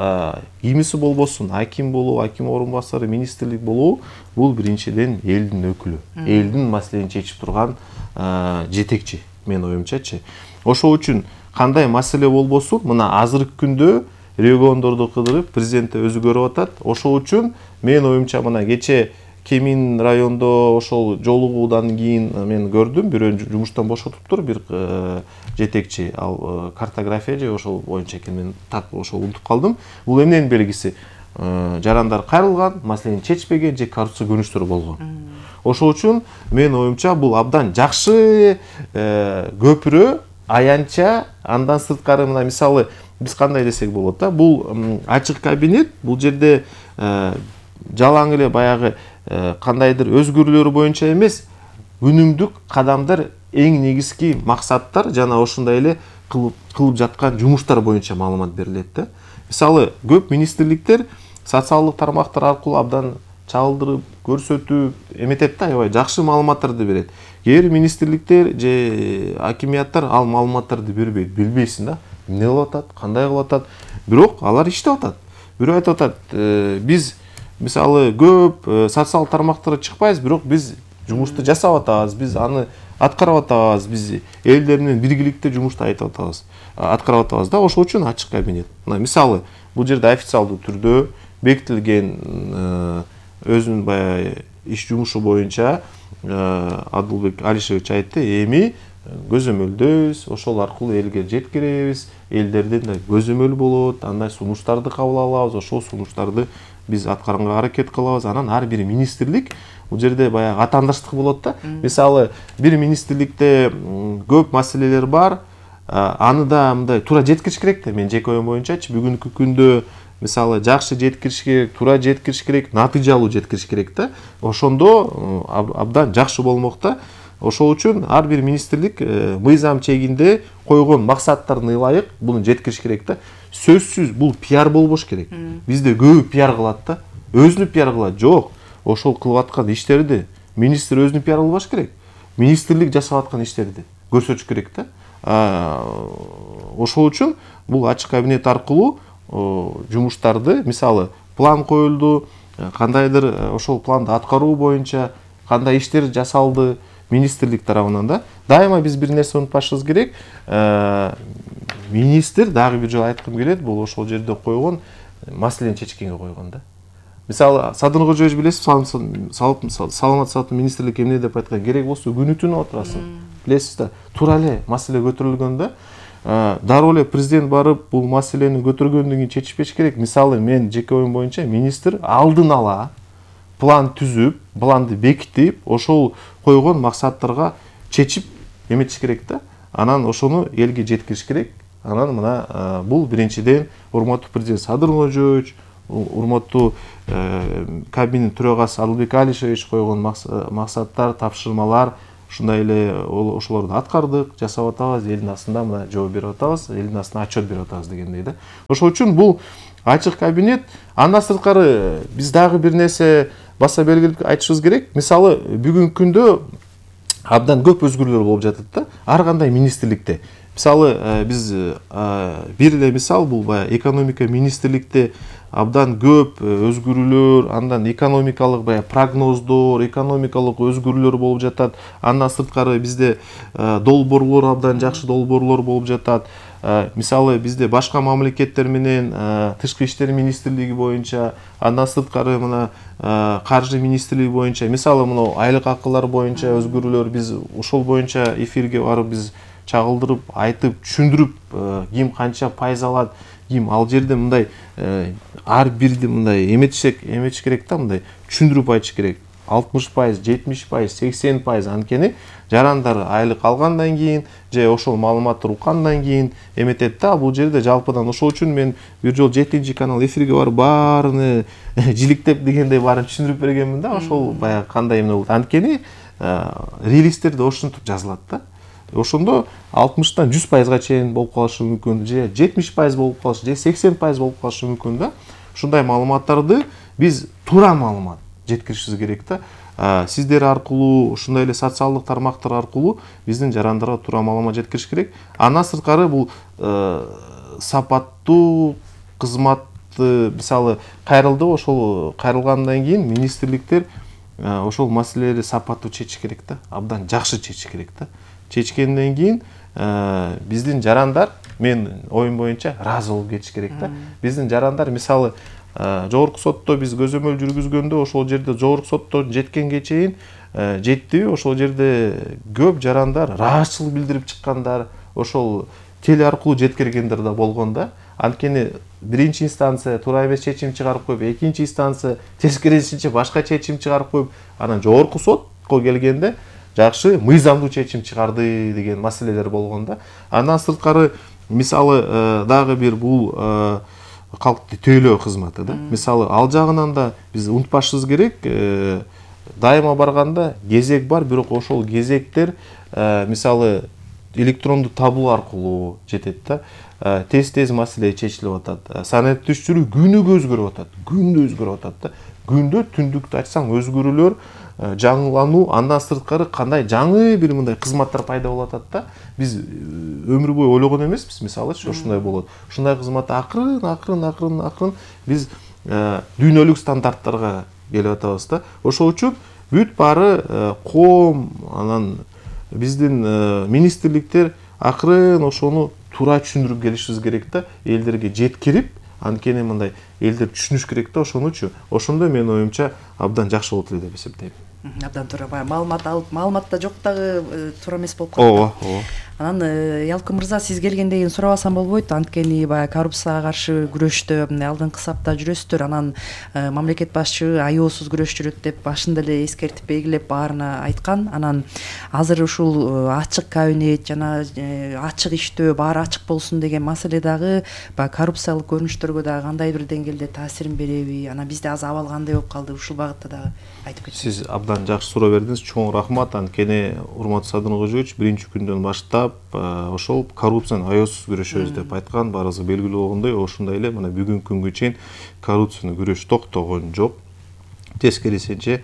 кимиси болбосун, аким болобу, аким орун басары, министрлик болобу, бул биринчиден элдин өкүлү, элдин маселени чечип турган жетекчи, мен оюмчачы. Ошол үчүн кандай маселе болбосун, мына азыркы күндө региондорду кыдырып, президент өзү көрүп атат. Ошол үчүн мен оюмча мына кече Кемин райондо ошол жолугуудан кийин мен көрдүм, бирөө жумуштан бошотуптур, бир жетекчи, ал картография же ошол боюнча экен, мен так ошол унутуп калдым. Бул эмненин белгиси? Жарандар кайрылган, маселени чечпеген же коррупция көрүнүштөрү болгон. Ошол үчүн мен оюмча бул абдан жакшы көпүрө, аянтча. Андан сырткары мына мисалы биз кандай десек болот да, бул ачык кабинет, бул жерде жалаң эле баягы кандайдыр өзгөрүүлөр боюнча эмес, күнүмдүк кадамдар, эң негизги максаттар жана ошондой эле кылып жаткан жумуштар боюнча маалымат берилет да. Мисалы көп министрликтер социалдык тармактар аркылуу абдан чалдырып, көрсөтүп эметет да, аябай жакшы маалыматтарды берет. Кээ бир министрликтер же акимияттар ал маалыматтарды бербейт, билбейсиң да, эмне кылып атат, кандай кылып атат. Бирок алар иштеп атат. Бирөө айтып атат, биз мисалы көп социалдык тармактарга чыкпайбыз, бирок биз жумушту жасап атабыз, биз аны аткарып атабыз, биз элдер менен биргиликте жумушту айтып атабыз, аткарып атабыз да. Ошол үчүн ачык кабинет. Мына мисалы бул жерде официалдуу түрдө бекитилген өзүнүн баягы иш жумушу боюнча Адылбек Алишевич айтты, эми көзөмөлдөбүз, ошол аркылуу элге жеткиребиз, элдерден да көзөмөл болот, андай сунуштарды кабыл алабыз, ошол сунуштарды биз аткарганга аракет кылабыз. Анан ар бир министрлик бул жерде баягы атаандаштык болот да. Мисалы бир министрликте көп маселелер бар, аны да мындай туура жеткириш керек да. Мен жеке оюм боюнчачы бүгүнкү күндө мисалы жакшы жеткириш керек, туура жеткириш керек, натыйжалуу жеткириш керек да. Ошондо абдан жакшы болмок да. Ошол үчүн ар бир министрлик мыйзам чегинде койгон максаттарына ылайык буну жеткириш керек да. Сөзсүз бул пиар болбош керек. Бизде көбү пиар кылат да. Өзүнү пиар кылат. Жок. Ошол кылып аткан иштерди министр өзүнү пиар кылбаш керек. Министрлик жасап аткан иштерди көрсөтүш керек да. Ошол үчүн бул ачык кабинет аркылуу жумуштарды, мисалы план коюлду, кандайдыр ошол планды аткаруу боюнча кандай иштер жасалды министрлик тарабынан да. Дайыма биз бир нерсе унутпашыбыз керек. Министр дагы бир жолу айткым келет, бул ошол жерде койгон маселени чечкенге койгон да. Мисалы Садыр Ноолжоевич билесиз, саламат сактоо министрлик эмне деп айткан, керек болсо күнү түнү отурасың. Билесиз да, туура эле маселе көтөрүлгөн да. дароо эле президент барып бул маселени көтөргөндөн кийин чечишпеш керек. Мисалы мен жеке оюм боюнча министр алдын ала план түзүп, планды бекитип, ошол койгон максаттарга чечип эметиш керек да. Анан ошону элге жеткириш керек. Анан мына бул биринчиден урматтуу президент Садыр Ноожоевич, урматтуу кабинет төрагасы Адылбек Алишевич койгон максаттар, тапшырмалар, ушундай эле ошолорду аткардык, жасап атабыз, элдин астында мына жооп берип атабыз, элдин астына отчет берип атабыз дегендей да. Ошол үчүн бул ачык кабинет. Андан сырткары биз дагы бир нерсе баса белгилеп айтышыбыз керек. Мисалы бүгүнкү күндө абдан көп өзгөрүүлөр болуп жатат да, ар кандай министрликте. Мисалы биз бир эле мисал бул баягы экономика министрликте абдан көп өзгөрүүлөр, андан экономикалык баягы прогноздор, экономикалык өзгөрүүлөр болуп жатат. Андан сырткары бизде долбоорлор абдан жакшы долбоорлор болуп жатат. Мисалы бизде башка мамлекеттер менен тышкы иштер министрлиги боюнча, андан сырткары мына каржы министрлиги боюнча, мисалы мына айлык акылар боюнча өзгөрүүлөр, биз ошол боюнча эфирге барып биз чагылдырып, айтып, түшүндүрүп, ким канча пайыз алат, ким ал жерде мындай ар бирди мындай эметишек, эметиш керек да, мындай түшүндүрүп айтыш керек. алтымыш пайыз, жетимиш пайыз, сексен пайыз анткени жарандар айлык алгандан кийин же ошол маалыматты уккандан кийин эметет да. Бул жерде жалпыдан ошол үчүн мен бир жолу жетинчи канал эфирге барып баарыны жиликтеп дегендей баарын түшүндүрүп бергенмин да. Ошол баягы кандай эмне болот. Анткени релизтерде ошентип жазылат да. Ошондо алтымыштан жүз пайызга чейин болуп калышы мүмкүн, же жетимиш пайыз болуп калышы, же сексен пайыз болуп калышы мүмкүн да. Ушундай маалыматтарды биз туура маалымат жеткиришибиз керек да. Сиздер аркылуу, ушундай эле социалдык тармактар аркылуу биздин жарандарга туура маалымат жеткириш керек. Андан сырткары бул сапаттуу кызматты, мисалы кайрылды, ошол кайрылгандан кийин министрликтер ошол маселелерди сапаттуу чечиш керек да. Абдан жакшы чечиш керек да. Чечкенден кийин биздин жарандар, мен оюм боюнча, ыраазы болуп кетиш керек да. Биздин жарандар мисалы жогорку сотто биз көзөмөл жүргүзгөндө ошол жерде жогорку соттон жеткенге чейин жеттиби, ошол жерде көп жарандар ыраазычылык билдирип чыккандар, ошол теле аркылуу жеткиргендер да болгон да. Анткени биринчи инстанция туура эмес чечим чыгарып коюп, экинчи инстанция тескерисинче башка чечим чыгарып коюп, анан жогорку сотко келгенде жакшы мыйзамдуу чечим чыгарды деген маселелер болгон да. Андан сырткары мисалы дагы бир бул калкты тейлөө кызматы да. Мисалы ал жагынан да биз унутпашыбыз керек. Дайыма барганда кезек бар, бирок ошол кезектер мисалы электрондуу табуу аркылуу жетет да. Тез-тез маселе чечилип атат. Санариптештирүү күнүгө өзгөрүп атат. Күндө өзгөрүп атат да. Күндө түндүктү ачсаң өзгөрүүлөр, жаңылануу, андан сырткары кандай жаңы бир мындай кызматтар пайда болуп атат да. Биз өмүр бою ойлогон эмеспиз, мисалычы ошундай болот. Ушундай кызматты акырын, акырын, акырын, акырын биз дүйнөлүк стандарттарга келип атабыз да. Ошол үчүн бүт баары коом, анан биздин министрликтер акырын ошону туура түшүндүрүп келишибиз керек да, элдерге жеткирип, анткени мындай элдер түшүнүш керек да ошонучу. Ошондо менин оюмча абдан жакшы болот эле деп эсептейм. Абдан туура, баягы маалымат алып, маалымат да жок дагы туура эмес болуп калат. Ооба, ооба. Анан Ялкын мырза, сиз келгенден кийин сурабасам болбойт, анткени баягы коррупцияга каршы күрөштө алдыңкы сапта жүрөсүздөр, анан мамлекет башчы аеосуз күрөш жүрөт деп башында эле эскертип белгилеп баарына айткан. Анан азыр ушул ачык кабинет жана ачык иштөө, баары ачык болсун деген маселе дагы баягы коррупциялык көрүнүштөргө дагы кандай бир деңгээлде таасирин береби? Анан бизде азыр абал кандай болуп калды? Ушул багытта дагы айтып кетсеңиз. Сиз абдан жакшы суроо бердиңиз, чоң рахмат. Анткени урматтуу Садыр Ноожоевич биринчи күндөн баштап ошол коррупцияны аеосуз күрөшөбүз деп айткан, баарыбызга белгилүү болгондой, ошондой эле мына бүгүнкү күнгө чейин коррупцияны күрөш токтогон жок. Тескерисинче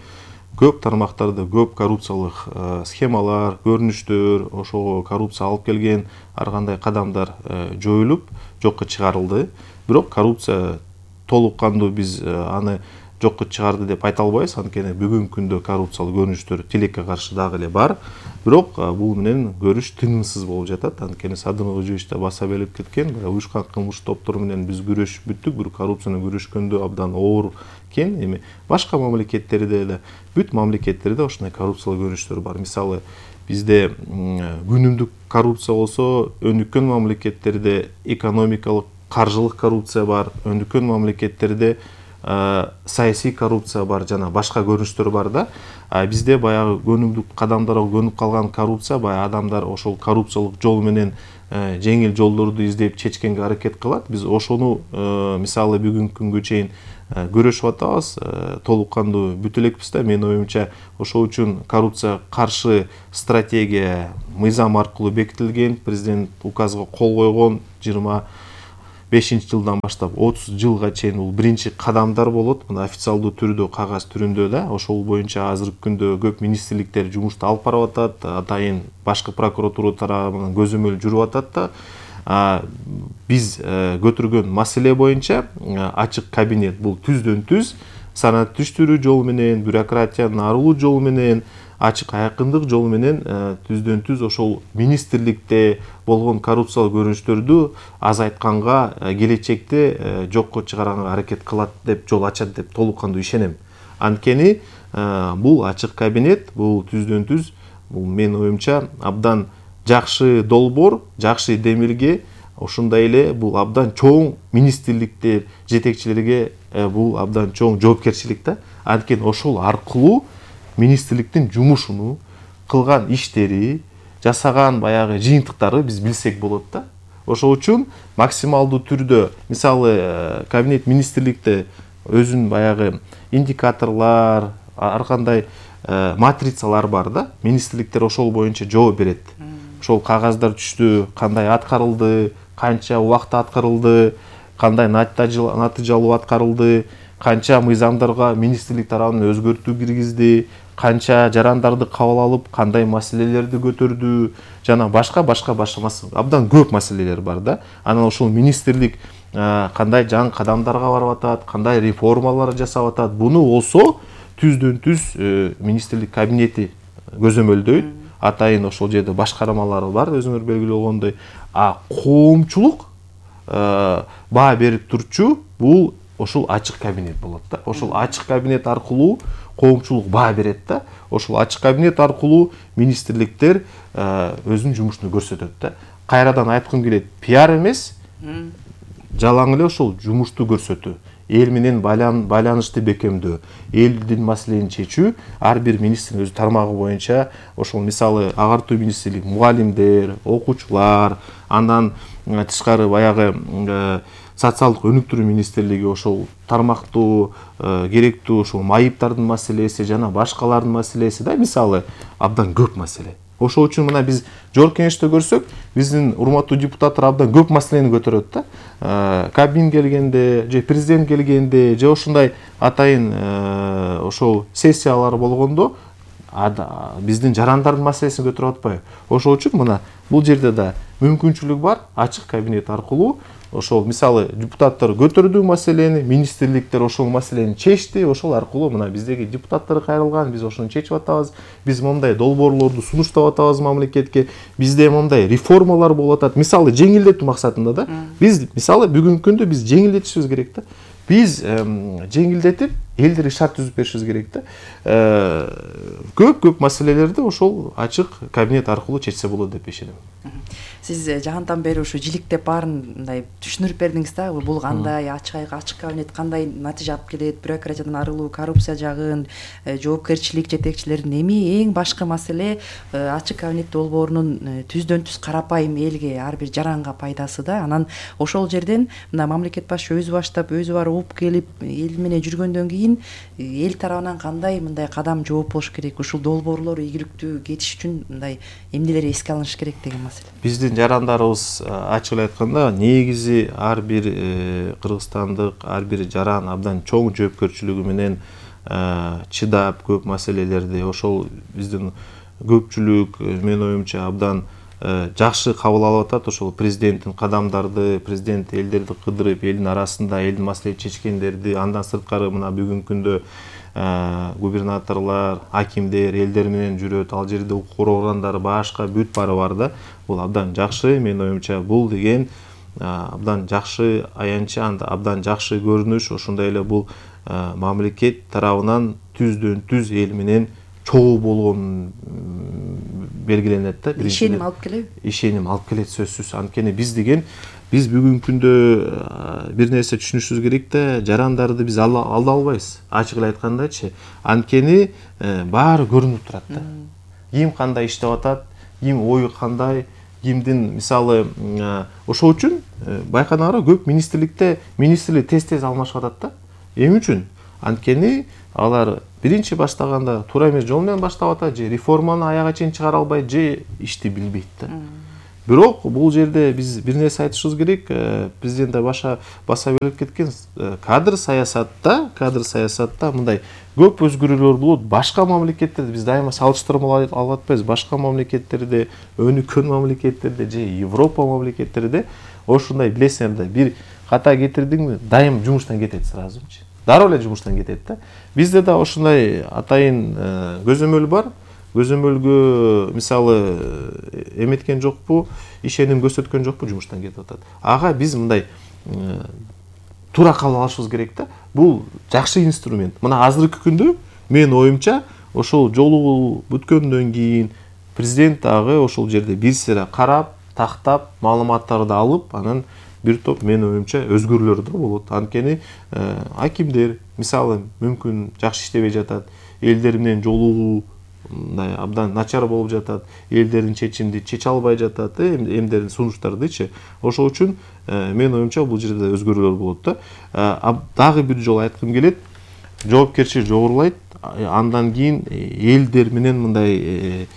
көп тармактарда көп коррупциялык схемалар, көрүнүштөр, ошого коррупция алып келген ар кандай кадамдар жоюлуп, жокко чыгарылды. Бирок коррупция толук кандуу биз аны жокко чыгарды деп айта албайбыз, анткени бүгүнкү күндө коррупциялык көрүнүштөр тилекке каршы дагы эле бар. Бирок бул менен көрүш тынымсыз болуп жатат. Анткени Садыр Ноожоевич да баса белгилеп кеткен, уюшкан кылмыш топтор менен биз күрөшүп бүттүк, бирок коррупцияны күрөшкөндө абдан оор экен. Эми башка мамлекеттерде эле, бүт мамлекеттерде ушундай коррупциялык көрүнүштөр бар. Мисалы, бизде күнүмдүк коррупция болсо, өнүккөн мамлекеттерде экономикалык, каржылык коррупция бар, өнүккөн мамлекеттерде саясий коррупция бар, жана башка көрүнүштөр бар да. Бизде баягы көнүмдүк кадамдарга көнүп калган коррупция, баягы адамдар ошол коррупциялык жол менен жеңил жолдорду издеп чечкенге аракет кылат. Биз ошону мисалы бүгүнкү күнгө чейин көрүшүп атабыз, толук кандуу бүтө элекпиз да. Менин оюмча ошол үчүн коррупцияга каршы стратегия мыйзам аркылуу бекитилген, президент указга кол койгон, жыйырма бешинчи жылдан баштап отуз жылга чейин бул биринчи кадамдар болот. Мына официалдуу түрдө, кагаз түрүндө да. Ошол боюнча азыркы күндө көп министрликтер жумушту алып барып атат, атайын башкы прокуратура тарабынан көзөмөл жүрүп атат да. Биз көтөргөн маселе боюнча ачык кабинет бул түздөн түз санат түштүрүү жол менен, бюрократиядан арылуу жол менен, ачык айкындык жол менен түздөн түз ошол министрликте болгон коррупциялык көрүнүштөрдү азайтканга, келечекте жокко чыгарганга аракет кылат деп, жол ачат деп толук кандуу ишенем. Анткени бул ачык кабинет, бул түздөн түз, бул менин оюмча абдан жакшы долбоор, жакшы демилге. Ошондой эле бул абдан чоң министрликтер жетекчилерге бул абдан чоң жоопкерчилик да. Анткени ошол аркылуу министрликтин жумушуну, кылган иштери, жасаган баягы жыйынтыктары биз билсек болот да. Ошол үчүн максималдуу түрдө, мисалы, кабинет министрликте өзүнүн баягы индикаторлор, ар кандай матрицалар бар да. Министрликтер ошол боюнча жооп берет. Ошол кагаздар түштү, кандай аткарылды, канча убакытта аткарылды, кандай натыйжалуу аткарылды, канча мыйзамдарга министрлик тарабынан өзгөртүү киргизди, канча жарандарды кабыл алып, кандай маселелерди көтөрдү, жана башка башка башка абдан көп маселелер бар да. Анан ошол министрлик кандай жаңы кадамдарга барып атат, кандай реформалар жасап атат, буну болсо түздөн түз министрлик кабинети көзөмөлдөйт. Атайын ошол жерде башкармалары бар, өзүңөр белгилүү болгондой. А коомчулук баа берип турчу бул ошол ачык кабинет болот да. Ошол ачык кабинет аркылуу коомчулук баа берет да. Ошол ачык кабинет аркылуу министрликтер өзүнүн жумушун көрсөтөт да. Кайрадан айткым келет, пиар эмес, жалаң эле ошол жумушту көрсөтүү, эл менен байланышты бекемдөө, элдин маселени чечүү, ар бир министрдин өз тармагы боюнча, ошол мисалы агартуу министрлик мугалимдер, окуучулар, андан тышкары баягы социалдык өнүктүрүү министрлиги ошол тармактуу, керектүү ошол майыптардын маселеси жана башкалардын маселеси да, мисалы абдан көп маселе. Ошол үчүн мына биз жогорку кеңеште көрсөк, биздин урматтуу депутаттар абдан көп маселени көтөрөт да. Кабмин келгенде, же президент келгенде, же ошондой атайын ошол сессиялар болгондо биздин жарандардын маселесин көтөрүп атпайбы? Ошол үчүн мына бул жерде да мүмкүнчүлүк бар, ачык кабинет аркылуу ошол мисалы депутаттар көтөрдү маселени, министрликтер ошол маселени чечти, ошол аркылуу мына биздеги депутаттар кайрылган, биз ошону чечип атабыз, биз мондай долбоорлорду сунуштап атабыз мамлекетке, бизде мондай реформалар болуп атат, мисалы жеңилдетүү максатында да. Биз мисалы бүгүнкү күндө биз жеңилдетишибиз керек да. Биз жеңилдетип элдерге шарт түзүп беришибиз керек да. Көп-көп маселелерди ошол ачык кабинет аркылуу чечсе болот деп ишенем. Сиз жагантан бери ушу жиликтеп баарын мындай түшүндүрүп бердиңиз да. Бул кандай ачык ачык кабинет кандай натыйжа алып келет, бюрократиядан арылуу, коррупция жагын, жоопкерчилик жетекчилердин, эми эң башкы маселе ачык кабинет долбоорунун түздөн түз карапайым элге, ар бир жаранга пайдасы да. Анан ошол жерден мына мамлекет башчы өзү баштап, өзү барып уп келип, эл менен жүргөндөн кийин эл тарабынан кандай мындай кадам жооп болуш керек, ушул долбоорлор ийгиликтүү кетиш үчүн мындай эмнелер эске алыныш керек деген маселе. Биздин жарандарыбыз ачык эле айтканда негизи ар бир кыргызстандык, ар бир жаран абдан чоң жоопкерчилиги менен чыдап көп маселелерди ошол биздин көпчүлүк менин оюмча абдан жакшы кабыл алып атат. Ошол президенттин кадамдарды, президент элдерди кыдырып, элдин арасында элдин маселесин чечкендерди, андан сырткары мына бүгүнкү күндө губернаторлор, акимдер элдер менен жүрөт, ал жерде укук органдары башка бүт баары бар да. Бул абдан жакшы, менин оюмча бул деген абдан жакшы аянчы, абдан жакшы көрүнүш. Ошондой эле бул мамлекет тарабынан түздөн түз эл менен чогуу болгон белгиленет да. Ишеним алып келеби? Ишеним алып келет сөзсүз. Анткени биз деген биз бүгүнкү күндө бир нерсе түшүнүшүбүз керек да, жарандарды биз алда албайбыз. Ачык эле айткандачы, анткени баары көрүнүп турат да. Ким кандай иштеп атат, ким ою кандай, кимдин мисалы ошол үчүн байканыңарбы, көп министрликте министрлер тез-тез алмашып атат да. Эмне үчүн? Анткени алар биринчи баштаганда туура эмес жол менен баштап атат, же реформаны аягына чейин чыгара албайт, же ишти билбейт да. Бирок бул жерде биз бир нерсе айтышыбыз керек. Президент да баша баса белгилеп кеткен, кадр саясатта, кадр саясатта мындай көп өзгөрүүлөр болот. Башка мамлекеттерде биз дайыма салыштырма алып атпайбыз. Башка мамлекеттерде, өнүккөн мамлекеттерде же Европа мамлекеттерде ошундай билесиңер да, бир ката кетирдиңби, дайым жумуштан кетет сразучу. Дароо эле жумуштан кетет да. Бизде да ошундай атайын көзөмөл бар. Көзөмөлгө мисалы эметкен жокпу, ишеним көрсөткөн жокпу, жумуштан кетип атат. Ага биз мындай туура кабыл алышыбыз керек да. Бул жакшы инструмент. Мына азыркы күндө менин оюмча ошол жолугуу бүткөндөн кийин президент дагы ошол жерде бир сыйра карап, тактап, маалыматтарды алып, анан бир топ менин оюмча өзгөрүүлөр да болот. Анткени акимдер мисалы мүмкүн жакшы иштебей жатат, элдер менен жолугуу мындай абдан начар болуп жатат, элдердин чечимди чече албай жатат, эмдердин сунуштардычы. Ошол үчүн менин оюмча бул жерде өзгөрүүлөр болот да. Дагы бир жолу айткым келет, жоопкерчилик жогорулайт. Андан кийин элдер менен мындай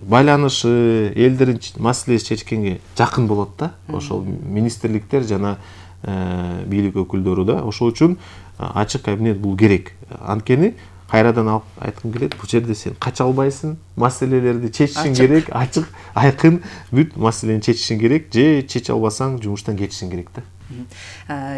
байланышы, элдердин маселеси чечкенге жакын болот да. Ошол министрликтер жана бийлик өкүлдөрү да. Ошол үчүн ачык кабинет бул керек. Анткени кайрадан алып айткым келет, бул жерде сен кача албайсың, маселелерди чечишиң керек, ачык, айкын бүт маселени чечишиң керек, же чече албасаң жумуштан кетишиң керек да.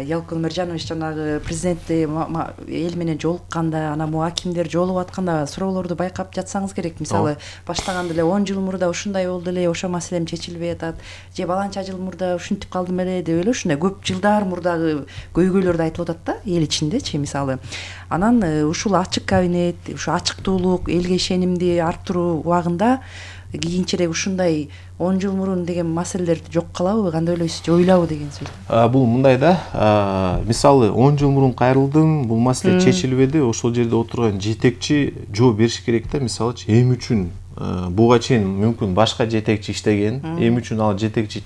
Ялкын Өмөржанович, жанагы президентти эл менен жолукканда, анан могу акимдер жолугуп атканда суроолорду байкап жатсаңыз керек. Мисалы, баштаганда эле он жыл мурда ушундай болду эле, ошо маселем чечилбей атат, же баланча жыл мурда ушинтип калдым эле деп эле ушундай көп жылдар мурдагы көйгөйлөрдү айтылып атат да, эл ичиндечи мисалы. Анан ушул ачык кабинет, ушу ачыктуулук, элге ишенимди арттыруу убагында кийинчерээк ушундай он жыл мурун деген маселелер жок калабы, кандай ойлойсуз, же ойлабы деген сөз? Бул мындай да, мисалы он жыл мурун кайрылдым, бул маселе чечилбеди, ошол жерде отурган жетекчи жооп бериш керек да. Мисалычы, эмне үчүн буга чейин мүмкүн башка жетекчи иштеген, эмне үчүн ал жетекчи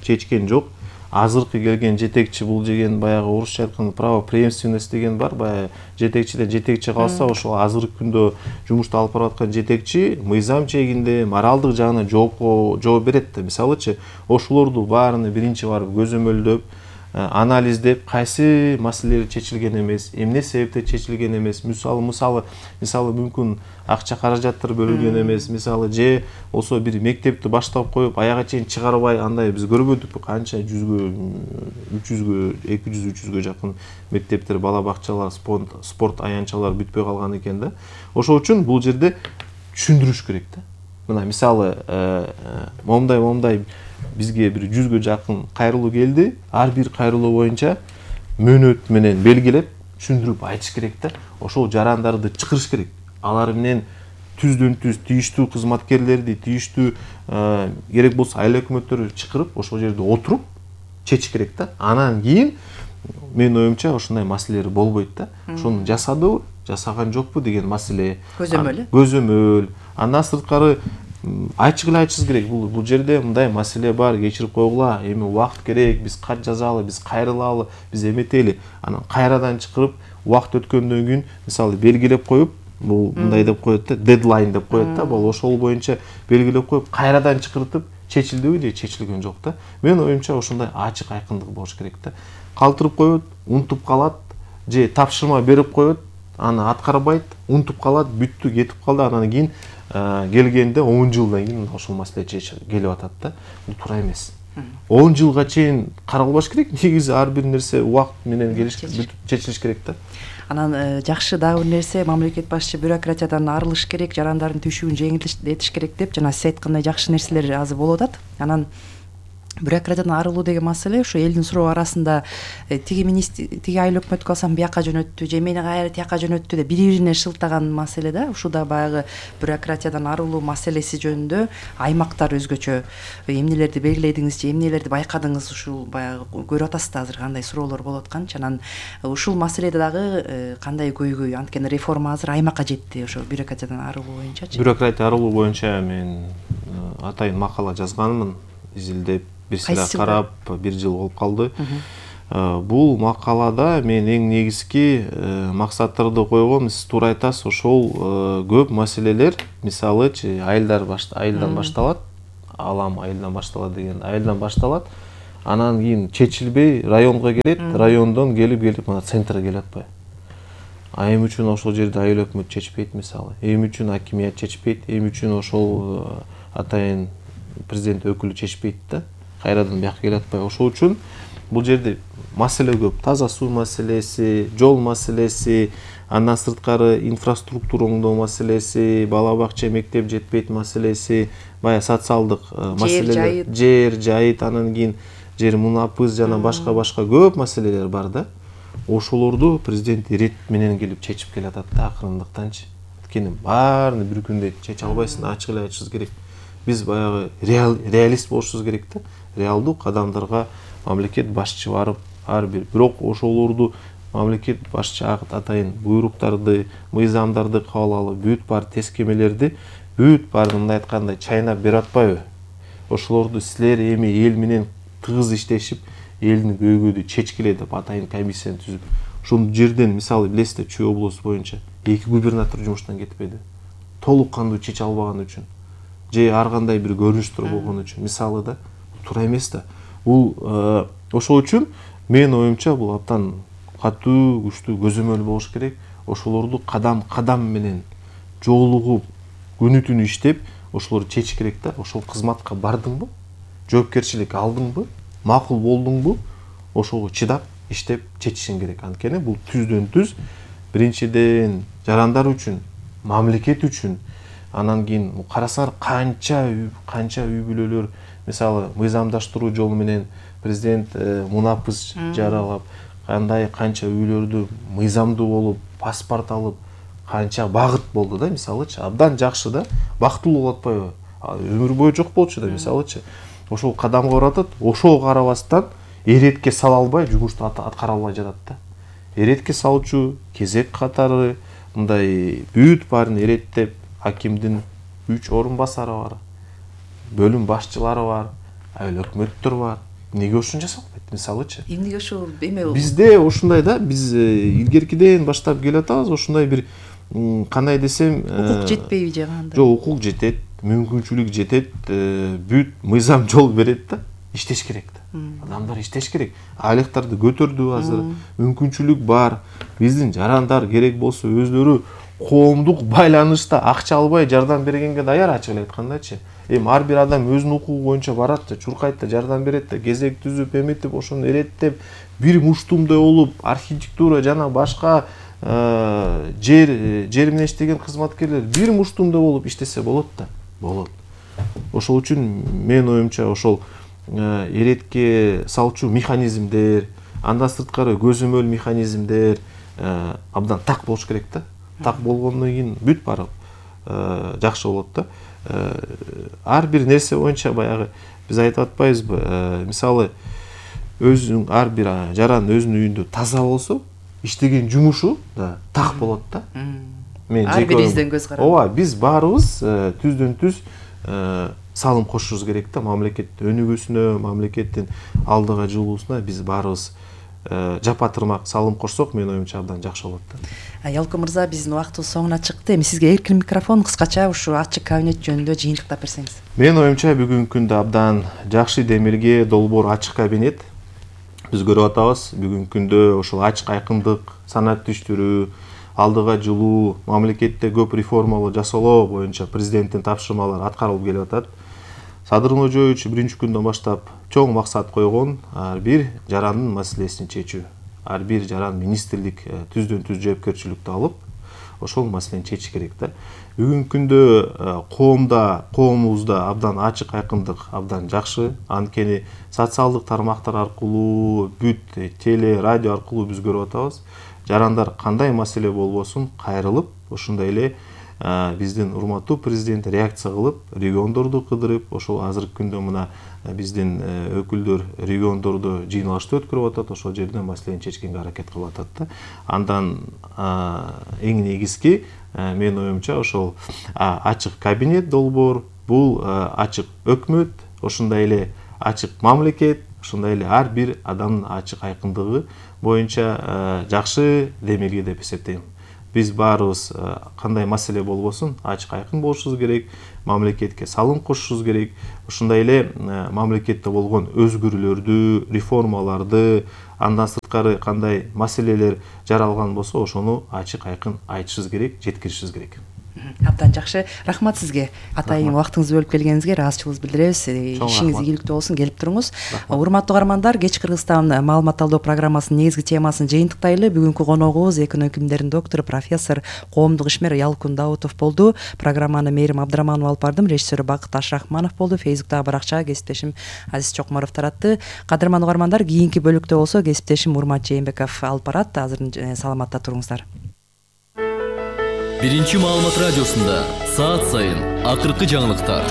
чечкен жок. Азыркы келген жетекчи бул деген баягы орусча айтканда право преемственность деген бар. Баягы жетекчиден жетекчи калса, ошол азыркы күндө жумушту алып барып аткан жетекчи мыйзам чегинде, моралдык жагынан жоопко жооп берет да. Мисалычы, ошолорду баарыны биринчи барып көзөмөлдөп, анализдеп, кайсы маселелер чечилген эмес, эмне себептен чечилген эмес, мисалы мисалы мисалы мүмкүн акча каражаттар бөлүнген эмес, мисалы же болсо бир мектепти баштап коюп, аяга чейин чыгарбай, андай биз көрбөдүкпү, канча жүзгө, үч жүзгө, эки жүз, үч жүзгө жакын мектептер, бала бакчалар, спорт аянтчалар бүтпөй калган экен да. Ошол үчүн бул жерде түшүндүрүш керек да. Мына мисалы, момундай момундай бизге бир жүзгө жакын кайрылуу келди. Ар бир кайрылуу боюнча мөөнөт менен белгилеп, түшүндүрүп айтыш керек да. Ошол жарандарды чакырыш керек. Алар менен түздөн түз тийиштүү кызматкерлерди, тийиштүү керек болсо айыл өкмөттөрү чакырып, ошол жерде отуруп чечиш керек да. Анан кийин менин оюмча ошондой маселелер болбойт да. Ошону жасадыбы, жасаган жокпу деген маселе. Көзөмөл. Көзөмөл. Андан сырткары ачык эле айтышыбыз керек. Бул бул жерде мындай маселе бар, кечирип койгула, эми убакыт керек, биз кат жазалы, биз кайрылалы, биз эметели. Анан кайрадан чакырып, убакыт өткөндөн кийин мисалы белгилеп коюп, бул мындай деп коет да, дедлайн деп коет да, бул ошол боюнча белгилеп коюп, кайрадан чакыртып, чечилдиби же чечилген жок да. Менин оюмча ошондой ачык айкындык болуш керек да. Калтырып коет, унутуп калат, же тапшырма берип коет, аны аткарбайт, унутуп калат, бүттү, кетип калды, анан кийин келгенде он жылдан кийин ошол маселе келип атат да. Бул туура эмес. он жылга чейин каралбаш керек. Негизи ар бир нерсе убакыт менен келиш, чечилиш керек да. Анан жакшы дагы бир нерсе, мамлекет башчы бюрократиядан арылыш керек, жарандардын түйшүгүн жеңилдетиш керек деп жана сиз айткандай жакшы нерселер азыр болуп атат. Анан бюрократиядан арылуу деген маселе ушу элдин суроо арасында тиги министр тиги айыл өкмөткө алсам бияка жөнөттү же мени кайра тияка жөнөттү деп бири бирине шылтаган маселе да. Ушул да баягы бюрократиядан арылуу маселеси жөнүндө аймактар өзгөчө эмнелерди белгиледиңиз же эмнелерди байкадыңыз, ушул баягы көрүп атасыз да азыр кандай суроолор болуп атканчы. Анан ушул маселеде дагы кандай көйгөй, анткени реформа азыр аймакка жетти ошо бюрократиядан арылуу боюнчачы. Бюрократия арылуу боюнча мен атайын макала жазганмын, изилдеп бир сыйра карап бир жыл болуп калды. Бул макалада мен эң негизги максаттарды койгом. Сиз туура айтасыз, ошол көп маселелер, мисалычы айылдар айылдан башталат, алам айылдан башталат деген, айылдан башталат, анан кийин чечилбей районго келет, райондон келип келип мына центрге келип атпайбы. А эми үчүн ошол жерде айыл өкмөт чечпейт мисалы, эми үчүн акимият чечпейт, эми үчүн ошол атайын президент өкүлү чечпейт да, кайрадан бияка келип атпайбы. Ошол үчүн бул жерде маселе көп. Таза суу маселеси, жол маселеси, андан сырткары инфраструктура оңдоо маселеси, бала бакча, мектеп жетпейт маселеси, бая социалдык маселелер, жер жайыт, анан кийин жер мунапыз жана башка-башка көп маселелер бар да. Ошолорду президент ирет менен келип чечип келатат да акырындыктанчы. Анткени баарын бир күндө чече албайсың, ачык эле айтышыбыз керек. Биз баягы реалист болушубуз керек да. Реалдуу кадамдарга мамлекет башчы барып, ар бир бирок ошолорду мамлекет башчы атайын буйруктарды, мыйзамдарды кабыл алып, бүт бар тескемелерди, бүт баарын мындай айткандай чайнап берип атпайбы? Ошолорду силер эми эл менен тыгыз иштешип, элдин көйгөйдү чечкиле деп атайын комиссияны түзүп, ошол жерден мисалы билесиздер, Чүй облусу боюнча эки губернатор жумуштан кетпеди. Толук кандуу чече албаган үчүн, же ар кандай бир көрүнүштөр болгон үчүн, мисалы да, туура эмес да. Бул ошол үчүн менин оюмча бул абдан катуу, күчтүү көзөмөл болуш керек. Ошолорду кадам-кадам менен жолугуп, күнү түнү иштеп, ошолорду чечиш керек да. Ошол кызматка бардыңбы? Жоопкерчилик алдыңбы? Макул болдуңбу? Ошого чыдап, иштеп чечишиң керек. Анткени бул түздөн түз биринчиден жарандар үчүн, мамлекет үчүн, анан кийин карасаңар канча канча үй бүлөлөр, мисалы мыйзамдаштыруу жолу менен президент мунапыз жаралап, кандай канча үйлөрдү мыйзамдуу болуп, паспорт алып, канча багыт болду да, мисалычы. Абдан жакшы да, бактылуу болуп атпайбы? Өмүр бою жок болчу да, мисалычы. Ошол кадамга баратат, ошого карабастан эретке сала албай, жумушту аткара албай жатат да. Эретке салчу, кезек катары, мындай бүт баарын эреттеп, акимдин үч орун басары бар, бөлүм башчылары бар, айыл өкмөттөр бар. Эмнеге ушун жасалбайт, мисалычы? Эмнеге ушул эме болду? Бизде ушундай да, биз илгеркиден баштап келе атабыз, ошундай бир кандай десем, укук жетпейби же кандай? Жок, укук жетет, мүмкүнчүлүк жетет, бүт мыйзам жол берет да, иштеш керек да. Адамдар иштеш керек. Айлыктарды көтөрдү азыр, мүмкүнчүлүк бар. Биздин жарандар керек болсо өздөрү коомдук байланышта акча албай жардам бергенге даяр, ачык эле айткандачы. Эми ар бир адам өзүнүн укугу боюнча барат да, чуркайт да, жардам берет да, кезек түзүп, эметип, ошону эреттеп, бир муштумдай болуп, архитектура жана башка жер жер менен иштеген кызматкерлер бир муштумдай болуп иштесе болот да, болот. Ошол үчүн менин оюмча ошол эретке салчу механизмдер, андан сырткары көзөмөл механизмдер абдан так болуш керек да. Так болгондон кийин бүт баары жакшы болот да. Ар бир нерсе боюнча баягы биз айтып атпайбызбы, мисалы өзүнүн ар бир жаран өзүнүн үйүндө таза болсо, иштеген жумушу да так болот да. Мен ар бирибизден көз карап. Ооба, биз баарыбыз түздөн түз салым кошушубуз керек да, мамлекет өнүгүүсүнө, мамлекеттин алдыга жылуусуна биз баарыбыз жапа-тырмак салым кошсок, менин оюмча абдан жакшы болот да. Ялко мырза, биздин убактыбыз соңуна чыкты. Эми сизге эркин микрофон, кыскача ушу ачык кабинет жөнүндө жыйынтыктап берсеңиз. Менин оюмча бүгүнкү күндө абдан жакшы демилге долбоор ачык кабинет. Биз көрүп атабыз, бүгүнкү күндө ошол ачык айкындык, санат түштүрүү, алдыга жылуу, мамлекетте көп реформалар жасалуу боюнча президенттин тапшырмалары аткарылып келип атат. Садыр Ноожоевич биринчи күндөн баштап чоң максат койгон, ар бир жарандын маселесин чечүү. Ар бир жаран министрлик түздөн түз жоопкерчиликти алып, ошол маселени чечиш керек да. Бүгүнкү күндө коомдо коомубузда абдан ачык айкындык абдан жакшы. Анткени социалдык тармактар аркылуу, бүт теле, радио аркылуу биз көрүп атабыз. Жарандар кандай маселе болбосун кайрылып, ошондой эле биздин урматтуу президент реакция кылып, региондорду кыдырып, ошол азыркы күндө мына биздин өкүлдөр региондордо жыйналышты өткөрүп атат, ошол жерден маселени чечкенге аракет кылып атат да. Андан эң негизги менин оюмча ошол ачык кабинет долбоор, бул ачык өкмөт, ошондой эле ачык мамлекет, ошондой эле ар бир адамдын ачык айкындыгы боюнча жакшы демилге деп эсептейм. Биз баарыбыз кандай маселе болбосун ачык айкын болушубуз керек, мамлекетке салым кошушубуз керек. Ошондой эле мамлекетте болгон өзгөрүүлөрдү, реформаларды, андан сырткары кандай маселелер жаралган болсо, ошону ачык айкын айтышыбыз керек, жеткиришибиз керек. Абдан жакшы. Рахмат сизге. Атайын убактыңызды бөлүп келгениңизге ыраазычылыгыбызды билдиребиз. Ишиңиз ийгиликтүү болсун, келип туруңуз. Урматтуу каармандар, Кеч Кыргызстан маалымат талдоо программасынын негизги темасын жыйынтыктайлы. Бүгүнкү коногубуз экономика илимдеринин доктору, профессор, коомдук ишмер Ялкын Даутов болду. Программаны Мээрим Абдрахманова алып бардым, режиссеру Бакыт Ашрахманов болду. Фейсбуктагы баракчага кесиптешим Азиз Чокморов таратты. Кадырман каармандар, кийинки бөлүктө болсо кесиптешим Урмат Жээнбеков алып барат. Азыр саламатта туруңуздар. Биринчи маалымат радиосунда саат сайын акыркы жаңылыктар,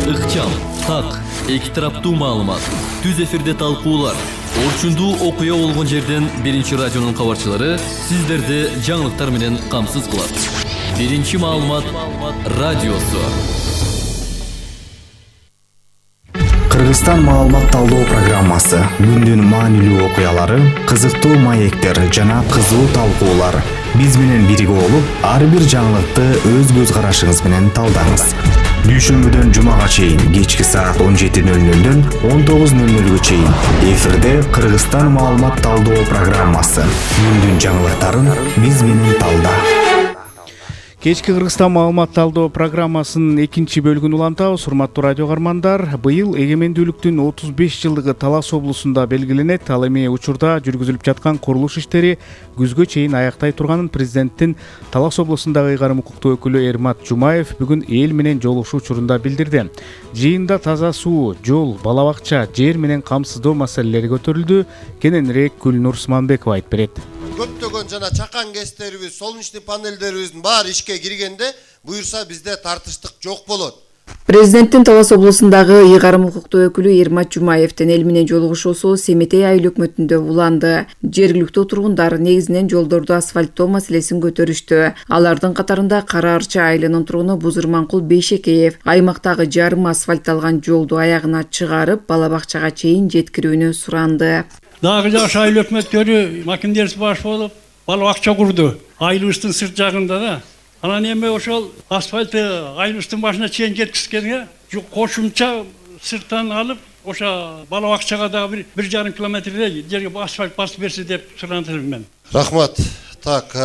ыкчам, так, эки тараптуу маалымат, түз эфирде талкуулар, орчундуу окуя болгон жерден Биринчи радионун кабарчылары сиздерди жаңылыктар менен камсыз кылат. Биринчи маалымат радиосу. Кыргызстан маалымат талдоо программасы күндүн маанилүү окуялары, кызыктуу маектер жана кызуу талкуулар. Биз менен бирге болуп, ар бир жаңылыкты өз көз карашыңыз менен талдаңыз. Дүйшөмбүдөн жумага чейин кечки саат он жети нөл нөлдөн он тогуз нөл нөлгө чейин эфирде Кыргызстан маалымат талдоо программасы. Күндүн жаңылыктарын биз менен талда. Кечки Кыргызстан маалымат талдоо программасынын экинчи бөлүгүн улантабыз. Урматтуу радио каармандар, быйыл эгемендүүлүктүн отуз беш жылдыгы Талас облусунда белгиленет. Ал эми учурда жүргүзүлүп жаткан курулуш иштери күзгө чейин аяктай турганын президенттин Талас облусундагы ыйгарым укуктуу өкүлү Эрмат Жумаев бүгүн эл менен жолугушуу учурунда билдирди. Жыйында таза суу, жол, бала бакча, жер менен камсыздоо маселелери көтөрүлдү. Кененирээк Гүлнур Усманбекова айтып берет. Көптөгөн жана чакан кестерибиз, солнечный панелдерибиздин баары ишке киргенде, буюрса бизде тартыштык жок болот. Президенттин Талас облусундагы ыйгарым укуктуу өкүлү Эрмат Жумаевдин эл менен жолугушуусу Семетей айыл өкмөтүндө уланды. Жергиликтүү тургундар негизинен жолдорду асфальттоо маселесин көтөрүштү. Алардын катарында Кара Арча айылынын тургуну Бузурманкул Бейшекеев аймактагы жарым асфальтталган жолду аягына чыгарып, бала бакчага чейин жеткирүүнү суранды. Дагы жаш айыл өкмөттөрү макиндерс баш болуп, бала бакча курду. Айылыбыздын сырт жагында да. Анан эми ошол асфальтты айылыбыздын башына чейин жеткизгенге кошумча сырттан алып, ошо бала бакчага дагы бир жарым километрдей жерге асфальт басып берсе деп сурантырмын мен. Рахмат. Так,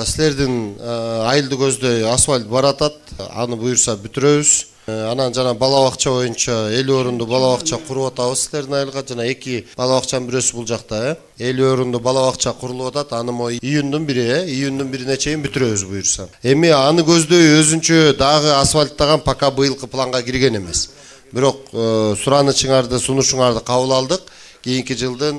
силердин айылды көздөй асфальт баратат. Аны буюрса бүтүрөбүз. Анан жана бала бакча боюнча элүү орунду бала бакча куруп атабыз силердин айылга. Жана эки бала бакчанын бирөөсү бул жакта, э. элүү орунду бала бакча курулуп атат. Аны мо июндун бири, э, июндун бирине чейин бүтүрөбүз буюрса. Эми аны көздөй өзүнчө дагы асфальттаган пока быйылкы планга кирген эмес. Бирок суранычыңарды, сунушуңарды кабыл алдык. Кийинки жылдын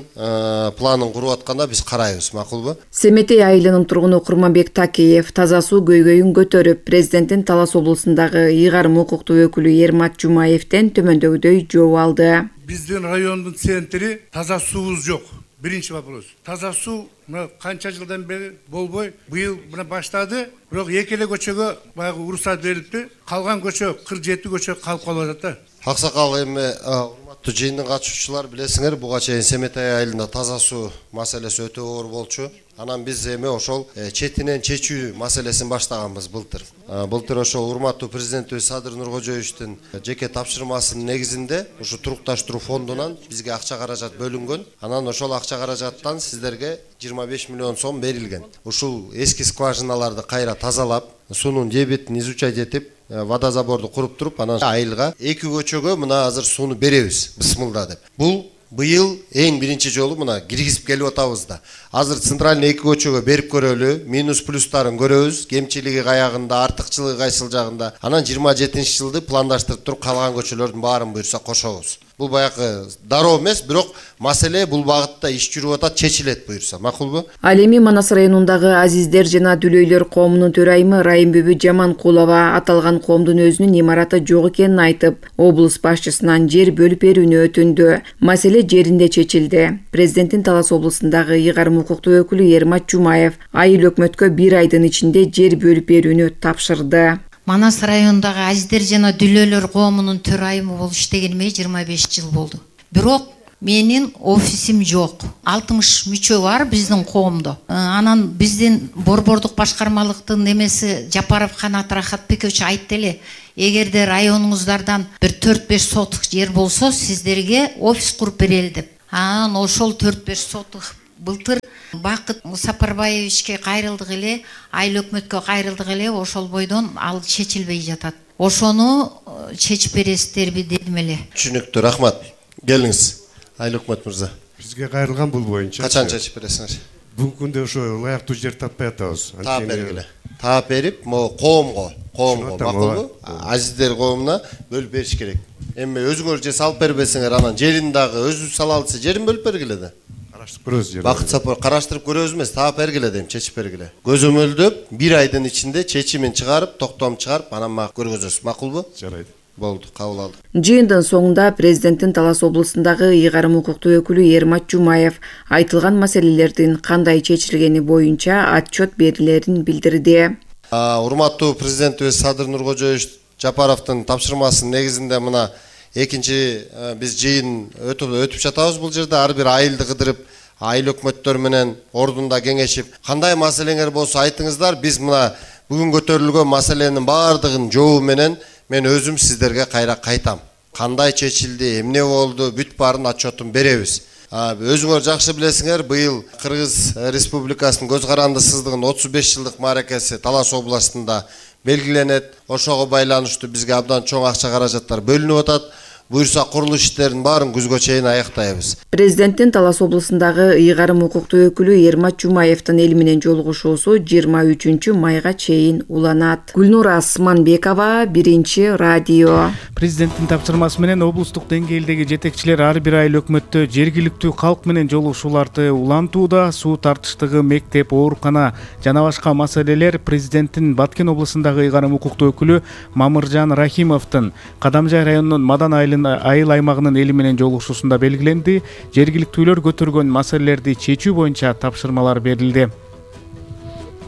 планын куруп атканда биз карайбыз, макулбу? Семетей айылынын тургуну Курманбек Такеев таза суу көйгөйүн көтөрүп, президенттин Талас облусундагы ыйгарым укуктуу өкүлү Эрмат Жумаевден төмөндөгүдөй жооп алды. Биздин райондун центри таза суубуз жок. Биринчи вопрос. Таза суу мына канча жылдан бери болбой, быйыл мына баштады. Бирок эки эле көчөгө баягы уруксат берилипти. Калган көчө кырк жети көчө калып калып атат да. Аксакал эми урматтуу жыйындын катышуучулар билесиңер, буга чейин Семетей айылында таза суу маселеси өтө оор болчу. Анан биз эми ошол четинен чечүү маселесин баштаганбыз былтыр. Былтыр ошол урматтуу президентибиз Садыр Нуркожоевичтин жеке тапшырмасынын негизинде ушу турукташтыруу фондунан бизге акча каражат бөлүнгөн. Анан ошол акча каражаттан сиздерге жыйырма беш миллион сом берилген. Ушул эски скважиналарды кайра тазалап, суунун дебитин изучать этип, водозаборду куруп туруп, анан айылга эки көчөгө мына азыр сууну беребиз, бысмылда деп. Бул быйыл эң биринчи жолу мына киргизип келип атабыз да. Азыр центральный эки көчөгө берип көрөлү, минус плюстарын көрөбүз, кемчилиги каягында, артыкчылыгы кайсыл жагында. Анан жыйырма жетинчи жылды пландаштырып туруп калган көчөлөрдүн баарын буюрса кошобуз. Бул баягы дароо эмес, бирок маселе бул багытта иш жүрүп атат, чечилет буюрса. Макулбу? Ал эми Манас районундагы азиздер жана дүлөйлөр коомунун төрайымы Райымбүбү Жаманкулова аталган коомдун өзүнүн имараты жок экенин айтып, облус башчысынан жер бөлүп берүүнү өтүндү. Маселе жеринде чечилди. Президенттин Талас облусундагы ыйгарым укуктуу өкүлү Ермат Жумаев айыл өкмөткө бир айдын ичинде жер бөлүп берүүнү тапшырды. Манас районундагы азиздер жана дүлөйлөр коомунун төрайымы болуп иштегениме жыйырма беш жыл болду. Бирок менин офисим жок. алтымыш мүчө бар биздин коомдо. Анан биздин борбордук башкармалыктын эмеси Жапаров Канат Рахатбекович айтты эле, эгерде районуңуздардан бир төрт беш соток жер болсо, сиздерге офис куруп берели деп. Анан ошол төрт беш соток былтыр Бакыт Сапарбаевичке кайрылдык эле, айыл өкмөткө кайрылдык эле, ошол бойдон ал чечилбей жатат. Ошону чечип бересиздерби дедим эле. Түшүнүктүү, рахмат. Келиңиз, айыл өкмөт мырза. Бизге кайрылган бул боюнча. Качан чечип бересиңер? Бүгүнкү күндө ошо ылайыктуу жер таппай атабыз. Таап бергиле. Таап берип, могу коомго, коомго, макулбу? Азиздер коомуна бөлүп бериш керек. Эми өзүңөр же салып бербесеңер, анан жерин дагы өзүбүз сала алса, жерин бөлүп бергиле да. Караштырып көрөбүз жерди. Бакыт Сапар караштырып көрөбүз эмес, таап бергиле дейм, чечип бергиле. Көзөмөлдөп, бир айдын ичинде чечимин чыгарып, токтом чыгарып, анан мага көргөзөсүз, макулбу? Жарайт. Болду, кабыл алдык. Жыйындын соңунда президенттин Талас облусундагы ыйгарым укуктуу өкүлү Ермат Жумаев айтылган маселелердин кандай чечилгени боюнча отчет берилерин билдирди. Урматтуу президентибиз Садыр Нуркожоевич Жапаровдун тапшырмасынын негизинде мына экинчи биз жыйын өтүп өтүп жатабыз бул жерде. Ар бир айылды кыдырып, айыл өкмөттөр менен ордунда кеңешип, кандай маселеңер болсо айтыңыздар, биз мына бүгүн көтөрүлгөн маселенин баардыгын жообу менен мен өзүм сиздерге кайра кайтам. Кандай чечилди, эмне болду, бүт баарын отчетун беребиз. Өзүңөр жакшы билесиңер, быйыл Кыргыз Республикасынын көз каранды сыздыгынын отуз беш жылдык мааракеси Талас областында белгиленет. Ошого байланыштуу бизге абдан чоң акча каражаттар бөлүнүп атат. Буюрса курулуш иштерин баарын күзгө чейин аяктайбыз. Президенттин Талас облусундагы ыйгарым укуктуу өкүлү Ермат Жумаевдин эл менен жолугушуусу жыйырма үчүнчү майга чейин уланат. Гүлнура Асманбекова, Биринчи радио. Президенттин тапшырмасы менен облустук деңгээлдеги жетекчилер ар бир айыл өкмөттө жергиликтүү калк менен жолугушууларды улантууда. Суу тартыштыгы, мектеп, оорукана жана башка маселелер президенттин Баткен облусундагы ыйгарым укуктуу өкүлү Мамыржан Рахимовдун Кадамжай районунун Мадан айылын айыл аймагынын эли менен жолугушуусунда белгиленди. Жергиликтүүлөр көтөргөн маселелерди чечүү боюнча тапшырмалар берилди.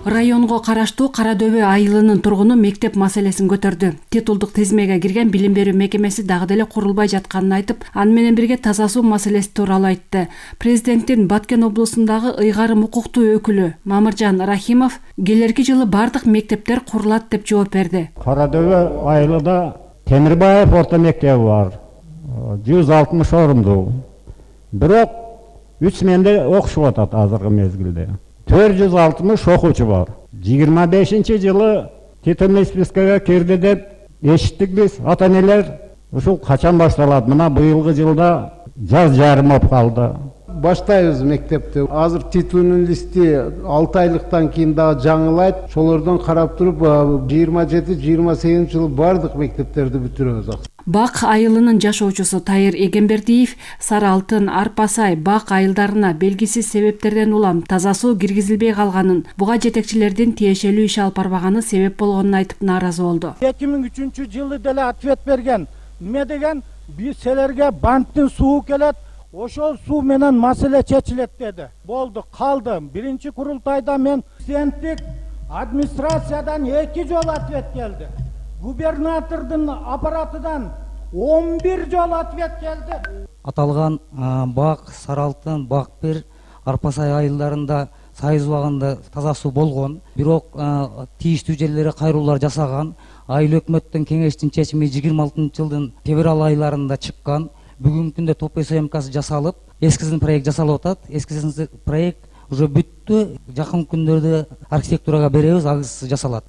Районго караштуу Карадөбө айылынын тургуну мектеп маселесин көтөрдү. Титулдук тизмеге кирген билим берүү мекемеси дагы деле курулбай жатканын айтып, аны менен бирге таза суу маселеси тууралуу айтты. Президенттин Баткен облусундагы ыйгарым укуктуу өкүлү Мамыржан Рахимов келерки жылы бардык мектептер курулат деп жооп берди. Карадөбө айылында Темирбаев орто мектеби бар. жүз алтымыш орунду. Бирок үч сменде окушуп атат азыркы мезгилде. төрт жүз алтымыш окуучу бар. жыйырма бешинчи жылы титульный спискага кирди деп эшиттик биз. Ата-энелер ушул качан башталат? Мына быйылгы жылда жаз жарым болуп калды. Баштайбыз мектепти. Азыр титульный листи алты айлыктан кийин дагы жаңылайт. Ошолордон карап туруп жыйырма жети жыйырма сегизинчи жылы бардык мектептерди бүтүрөбүз. Бак айылынын жашоочусу Тайыр Эгембердиев Сары Алтын, Арпасай, Бак айылдарына белгисиз себептерден улам таза суу киргизилбей калганын, буга жетекчилердин тиешелүү иш алып барбаганы себеп болгонун айтып нааразы болду. эки миң үчүнчү жылы деле ответ берген. Эмне деген? Биз силерге банктын суу келет, ошол суу менен маселе чечилет деди. Болду, калды. Биринчи курултайда мен президенттик администрациядан эки жолу ответ келди. Губернатордун аппаратынан он бир жолу ответ келди. Аталган Бак, Сары Алтын, Бак бир, Арпасай айылдарында сайыз убагында таза суу болгон. Бирок тийиштүү жерлерге кайруулар жасаган. Айыл өкмөттүн кеңештин чечими жыйырма алтынчы жылдын февраль айларында чыккан. Бүгүнкү күндө топ съемкасы жасалып, эскизин проект жасалып атат. Эскизин проект уже бүттү. Жакын күндөрдө архитектурага беребиз, агысы жасалат.